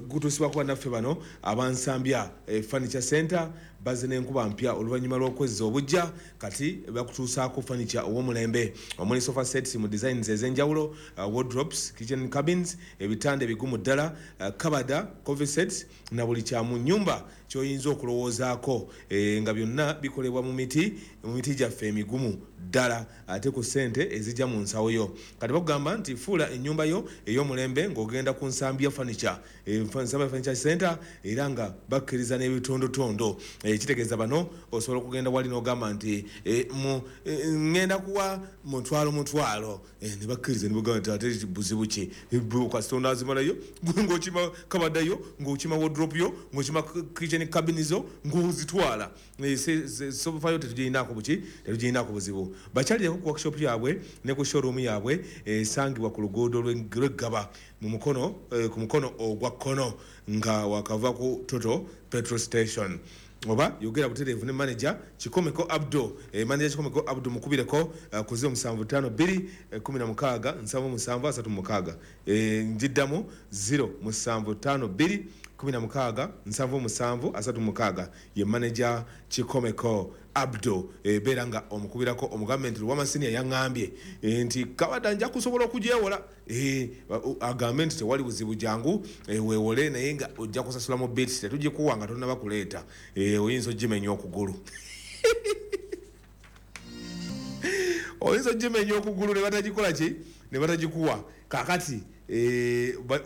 gukutuusibwako bannaffe bano abansambya Furniture Center bazze n'enkuba mpya oluvannyuma lw'okwezza obujja. Kati bakutuusaako furniture ow'omulembe omuli sofa sets mu designs ez'enjawulo, wardrobes, kitchen cabins, ebitanda ebigumu ddala, kabada, coffee sets na buli kya mu nnyumba ky'oyinza okulowoozaako, nga byonna bikolebwa mu miti gyaffe emigumu ddala ate ku ssente ezijja mu nsawo yo. Kati bakugamba nti fuula ennyumba yo ey'omulembe ng'ogenda ku Nsambya Furniture, Nsambya Furniture Center, era nga bakkiriza n'ebitondotondo. Kitegeeza bano osobola okugenda wali n'ogamba nti ŋŋenda kuwa mutwalo, ne bakkiriza ne bagamba nti ate buzibu ki, kasita onaazimalayo ng'okima kabaddayo, ng'okima wardrobe yo, ng'okima kitchen cabin zo, ng'ozitwala. Sofa yo tetugirinaako buki, tetugirinaako buzibu. Bakyalireko ku workshop yaabwe ne ku showroom yaabwe esangibwa ku luguudo lw'Eggaba mu mukono ku mukono ogwa kkono nga wakava ku Total petrol station. Oba yogera butereevu ne manager Kikomeko Abdo, manager Kikomeko Abdo mukubireko ku 0752 16 77 36. Njiddamu 0752 16 77 36 ye manager Kikomeko Abdo. Beera nga omukubirako omugambe nti Lwamasinya yaŋŋambye nti kabadda nja kusobola okugyewola, agambe nti tewali buzibu, jangu weewole, naye nga ojja kusasula mu bits, tetugikuwa nga tonnaba kuleeta, oyinza ogimenya okugulu oyinza ogimenya okugulu ne batagikola ki, ne batagikuwa. Kaakati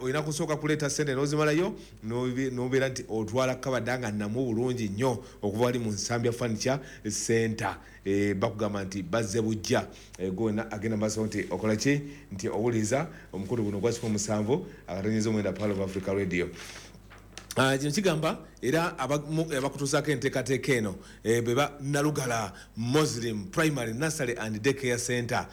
olina kusooka kuleeta ssente n'ozimalayo n'obeera nti otwala kabadda nga nnamu bulungi nnyo okuva wali mu Nsambya Furniture Center. Bakugamba nti bazze bujja. Gwe agenda maaso nti okola ki, nti owuliriza omukulu guno gwa 17.9 Pearl of Africa Radio. Kino kigamba era abakutuusaako enteekateeka eno beba Nalugala Muslim Primary Nursery and Daycare Center.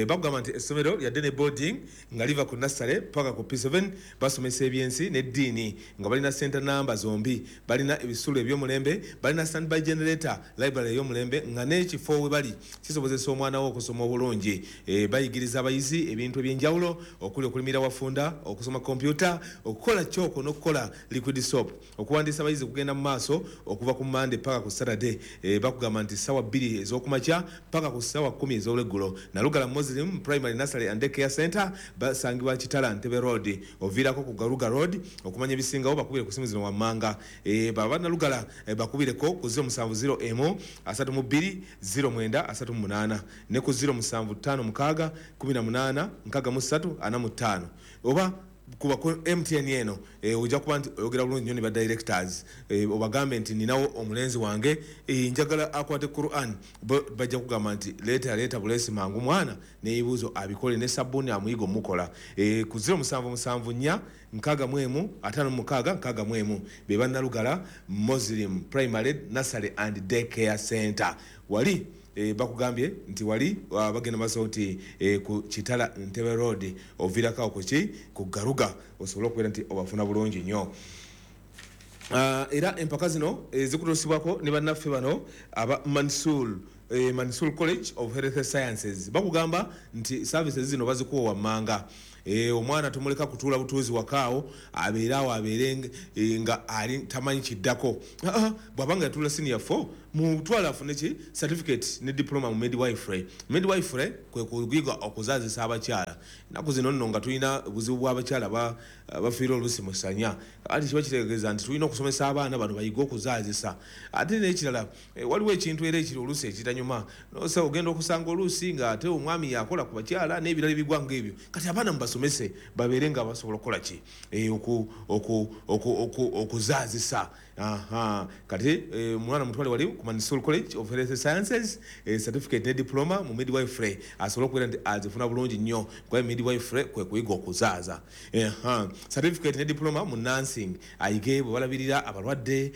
Bakugamba nti essomero lya day boarding nga liva ku nursery paka ku P7, basomesa ebyensi n'eddiini nga balina center namba zombi, balina ebisulo eby'omulembe, balina standby generator, library ey'omulembe nga n'ekifo we bali kisobozesa omwana wo okusoma obulungi. Bayigiriza abayizi ebintu eby'enjawulo okuli okulimira wafunda, okusoma kompyuta, okukola kyoko n'okukola liquid soap. Okuwandiisa abayizi kugenda mu maaso okuva ku Monday paka ku Saturday. Bakugamba nti ssaawa 2 ez'okumakya paka ku ssaawa 10 ez'olweggulo. Nalugala Muslim Primary Nursery and Daycare Center basangibwa Kitala Ntebe Road, oviirako ku Garuga Road. Okumanya ebisingawo bakubire ku simu zino wammanga. Baba Nalugala bakubireko ku 070 32 09 38 ne ku 0756 18 63 45 oba Kuba ku MTN eno ojja kuba nti oyogera bulungi nnyo ne ba directors, obagambe nti ninawo omulenzi wange, njagala akwate Quran. Bajja kugamba nti leeta bulesi mangu mwana n'ebibuuzo abikole ne sabbuuni amuyiga omukola. Ku 0774 61 56 61 be bannalugala Muslim Primary Nursery and Daycare Center. Wali bakugambye nti wali bagenda maaso nti ku Kitala Ntebe Road oviirako awo kuki ku Garuga osobola okubeera nti obafuna bulungi nnyo. Era empaka zino zikutuusibwako ne bannaffe bano aba Mansour College of Health Sciences. Bakugamba nti services zino bazikuwa wammanga. Omwana tumuleka kutuula butuuzi wakaawo abeere awo abeere nga ali tamanyi kiddako. Bw'abanga yatuula senior 4 mutwala afune ki certificate ne diploma mu midwifery. Midwifery kwe kuyiga okuzaazisa abakyala. Ennaku zino nno nga tulina obuzibu bw'abakyala bafiira oluusi mu ssanya. Ate kiba kitegeeza nti tulina okusomesa abaana bano bayige okuzaazisa. Ate n'ekirala waliwo ekintu era ekiri oluusi ekitanyuma. Nosa ogenda okusanga oluusi ng'ate omwami yakola ku bakyala n'ebirala ebigwa ng'ebyo. Kati abaana mubasomese babeere nga basobola okukola ki okuzaazisa. Kati omwana mutwale wali ku Mansour College of Health Sciences, certificate ne diploma mu midwifery asobola okubeera nti azifuna bulungi nnyo kuba midwifery kwe kuyiga okuzaaza. Certificate ne diploma mu nursing ayige bwe balabirira abalwadde,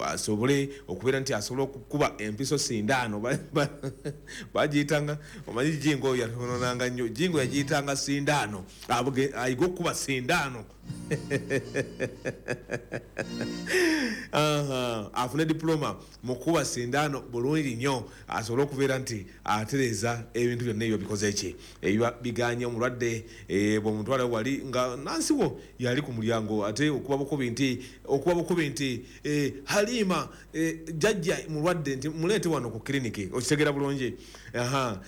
asobole okubeera nti asobola okukuba empiso sindaano. Bagiyitanga omanyi jingo yatononanga nnyo, jingo yagiyitanga sindaano, ayige okukuba sindaano. Afune diploma mu kukuba sindaano bulungi nnyo asobole okubeera nti atereeza ebintu byonna ebyo bikoze ki ebiba biganye omulwadde. Bw'omutwala wali nga nansi wo yali ku mulyango ate okuba bukubi nti Halima jjajja mulwadde nti muleete wano ku kiriniki. Okitegeera bulungi.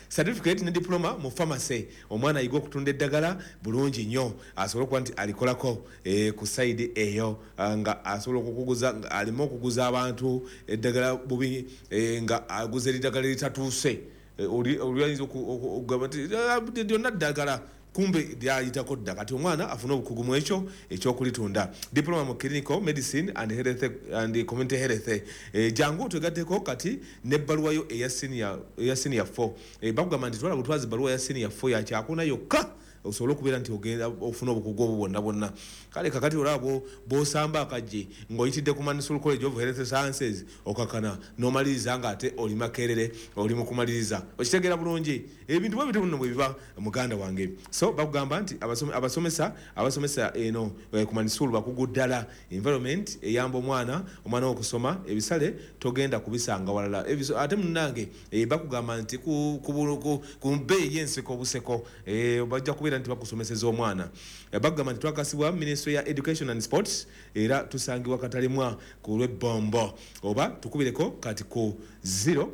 Certificate ne diploma mu pharmacy omwana ayiga okutunda eddagala bulungi nnyo asobole okuba nti alikolako ku side eyo nga asobola okukuguza, nga aleme okuguza abantu eddagala bubi, nga aguza eddagala eritatuuse. Oli ayinza okugamba nti lyonna ddagala kumbe lyayitako dda. Kati omwana afune obukugu mu ekyo ekyokulitunda. Diploma mu clinical medicine and health and community health. Jangu otwegatteko kati n'ebbaluwa yo eya senior 4. Bakugamba nti twala butwazi bbaluwa ya senior 4 ya kyakuna yokka osobola okubeera nti ogenda ofuna obukugu obwo bwonna bwonna. Kale kakati olaba bw'osamba akaggi ng'oyitidde ku Mansour College of Health Sciences okakana n'omaliriza ng'ate oli Makerere oli mu kumaliriza. Okitegeera bulungi ebintu bwe bityo nno bwe biba muganda wange. So bakugamba nti abasomesa eno ku Mansour bakugu ddala. Environment eyamba omwana okusoma ebisale togenda kubisanga walala. Ate munnange bakugamba nti ku bbeeyi y'enseko obuseko bajja kubeera nti bakusomeseza omwana. Bakugamba nti twakasibwa Ministry ya Education and Sports era tusangibwa Katalimwa ku lw'Ebbombo oba tukubireko kati ku 0200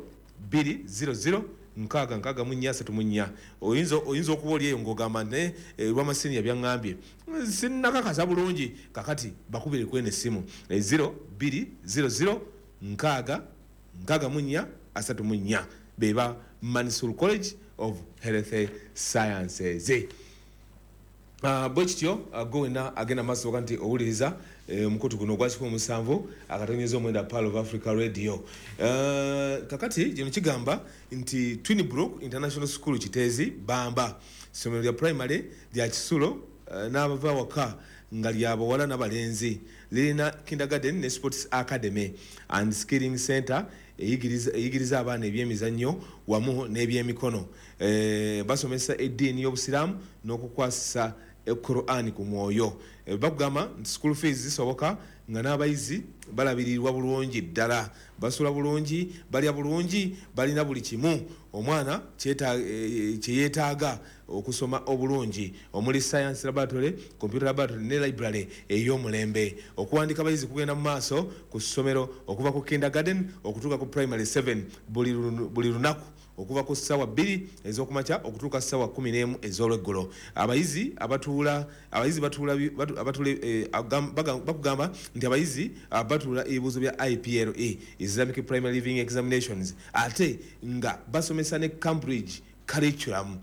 6 64 34. Oyinza okuba oli eyo ng'ogamba nti lwamasiniya byaŋŋambye sinnakakasa bulungi. Kakati bakubire kweno essimu 0200 6 64 34 beba Mansour College of Health Sciences. Bwe kityo gwe wenna agenda maaso oga nti owuliriza omukutu guno ogwa 107.9 Pearl of Africa Radio. Kakati kino kigamba nti Twinbrook International School Kiteezi Bamba ssomero lya primary lya kisulo n'abava waka nga lya bawala n'abalenzi. Lirina kindergarten ne sports academy and skilling center eyigiriza abaana ebyemizannyo wamu n'ebyemikono. Basomesa eddiini y'Obusiraamu n'okukwasisa Quran ku mwoyo. Bakugamba nti school fees zisoboka nga n'abayizi balabirirwa bulungi ddala, basula bulungi, balya bulungi, balina buli kimu omwana kye yeetaaga okusoma obulungi, omuli science laboratory, computer laboratory ne library ey'omulembe. Okuwandika abayizi kugenda mu maaso ku ssomero okuva ku kindergarten okutuuka ku primary 7 buli lunaku okuva ku ssaawa 2 ez'okumakya okutuuka ssaawa 11 ez'olweggulo. Abayizi bakugamba nti abayizi batuula ebibuuzo bya IPLE, Islamic Primary Living Examinations, ate nga basomesa ne Cambridge Curriculum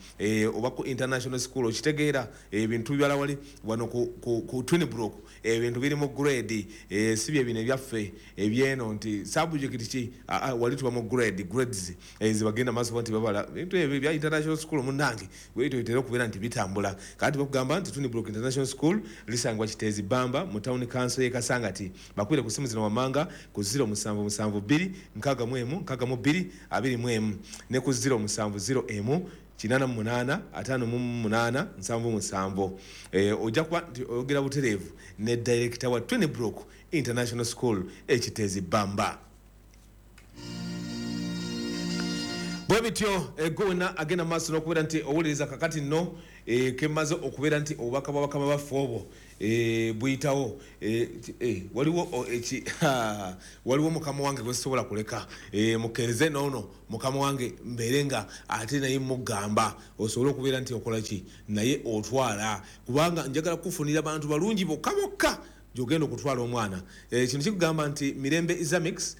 oba ku international school. Okitegeera, ebintu bibala wali wano ku Twinbrook, ebintu biri mu grade, si bye bino ebyaffe ebyeno nti subject ki. Wali tuba mu grade, grades zibagenda maaso nti babala ebintu ebyo bya international school. Munnange, bwetyo bitera okubeera nti bitambula. Kati bakugamba nti Twinbrook International School lisangibwa Kiteezi Bamba mu Town Council y'e Kasangati. Bakubire ku simu zino wammanga ku 0772 61 62 21 ne ku 0701 88 58 77. Ojja kuba nti oyogera butereevu ne director wa Twinbrook International School Ekiteezi Bamba. Bwe bityo, gwe wenna agenda maaso n'okubeera nti owuliriza kakati nno, kemaze okubeera nti obubaka bwa bakama baffe obwo buyitawo. Waliwo waliwo mukama wange gwe sisobola kuleka. Mukkirize noono mukama wange mbeere nga ate naye mugamba osobole okubeera nti okola ki naye otwala, kubanga njagala kufunira bantu balungi bokka bokka gyogenda okutwala omwana. Kino kikugamba nti Mirembe Islamics.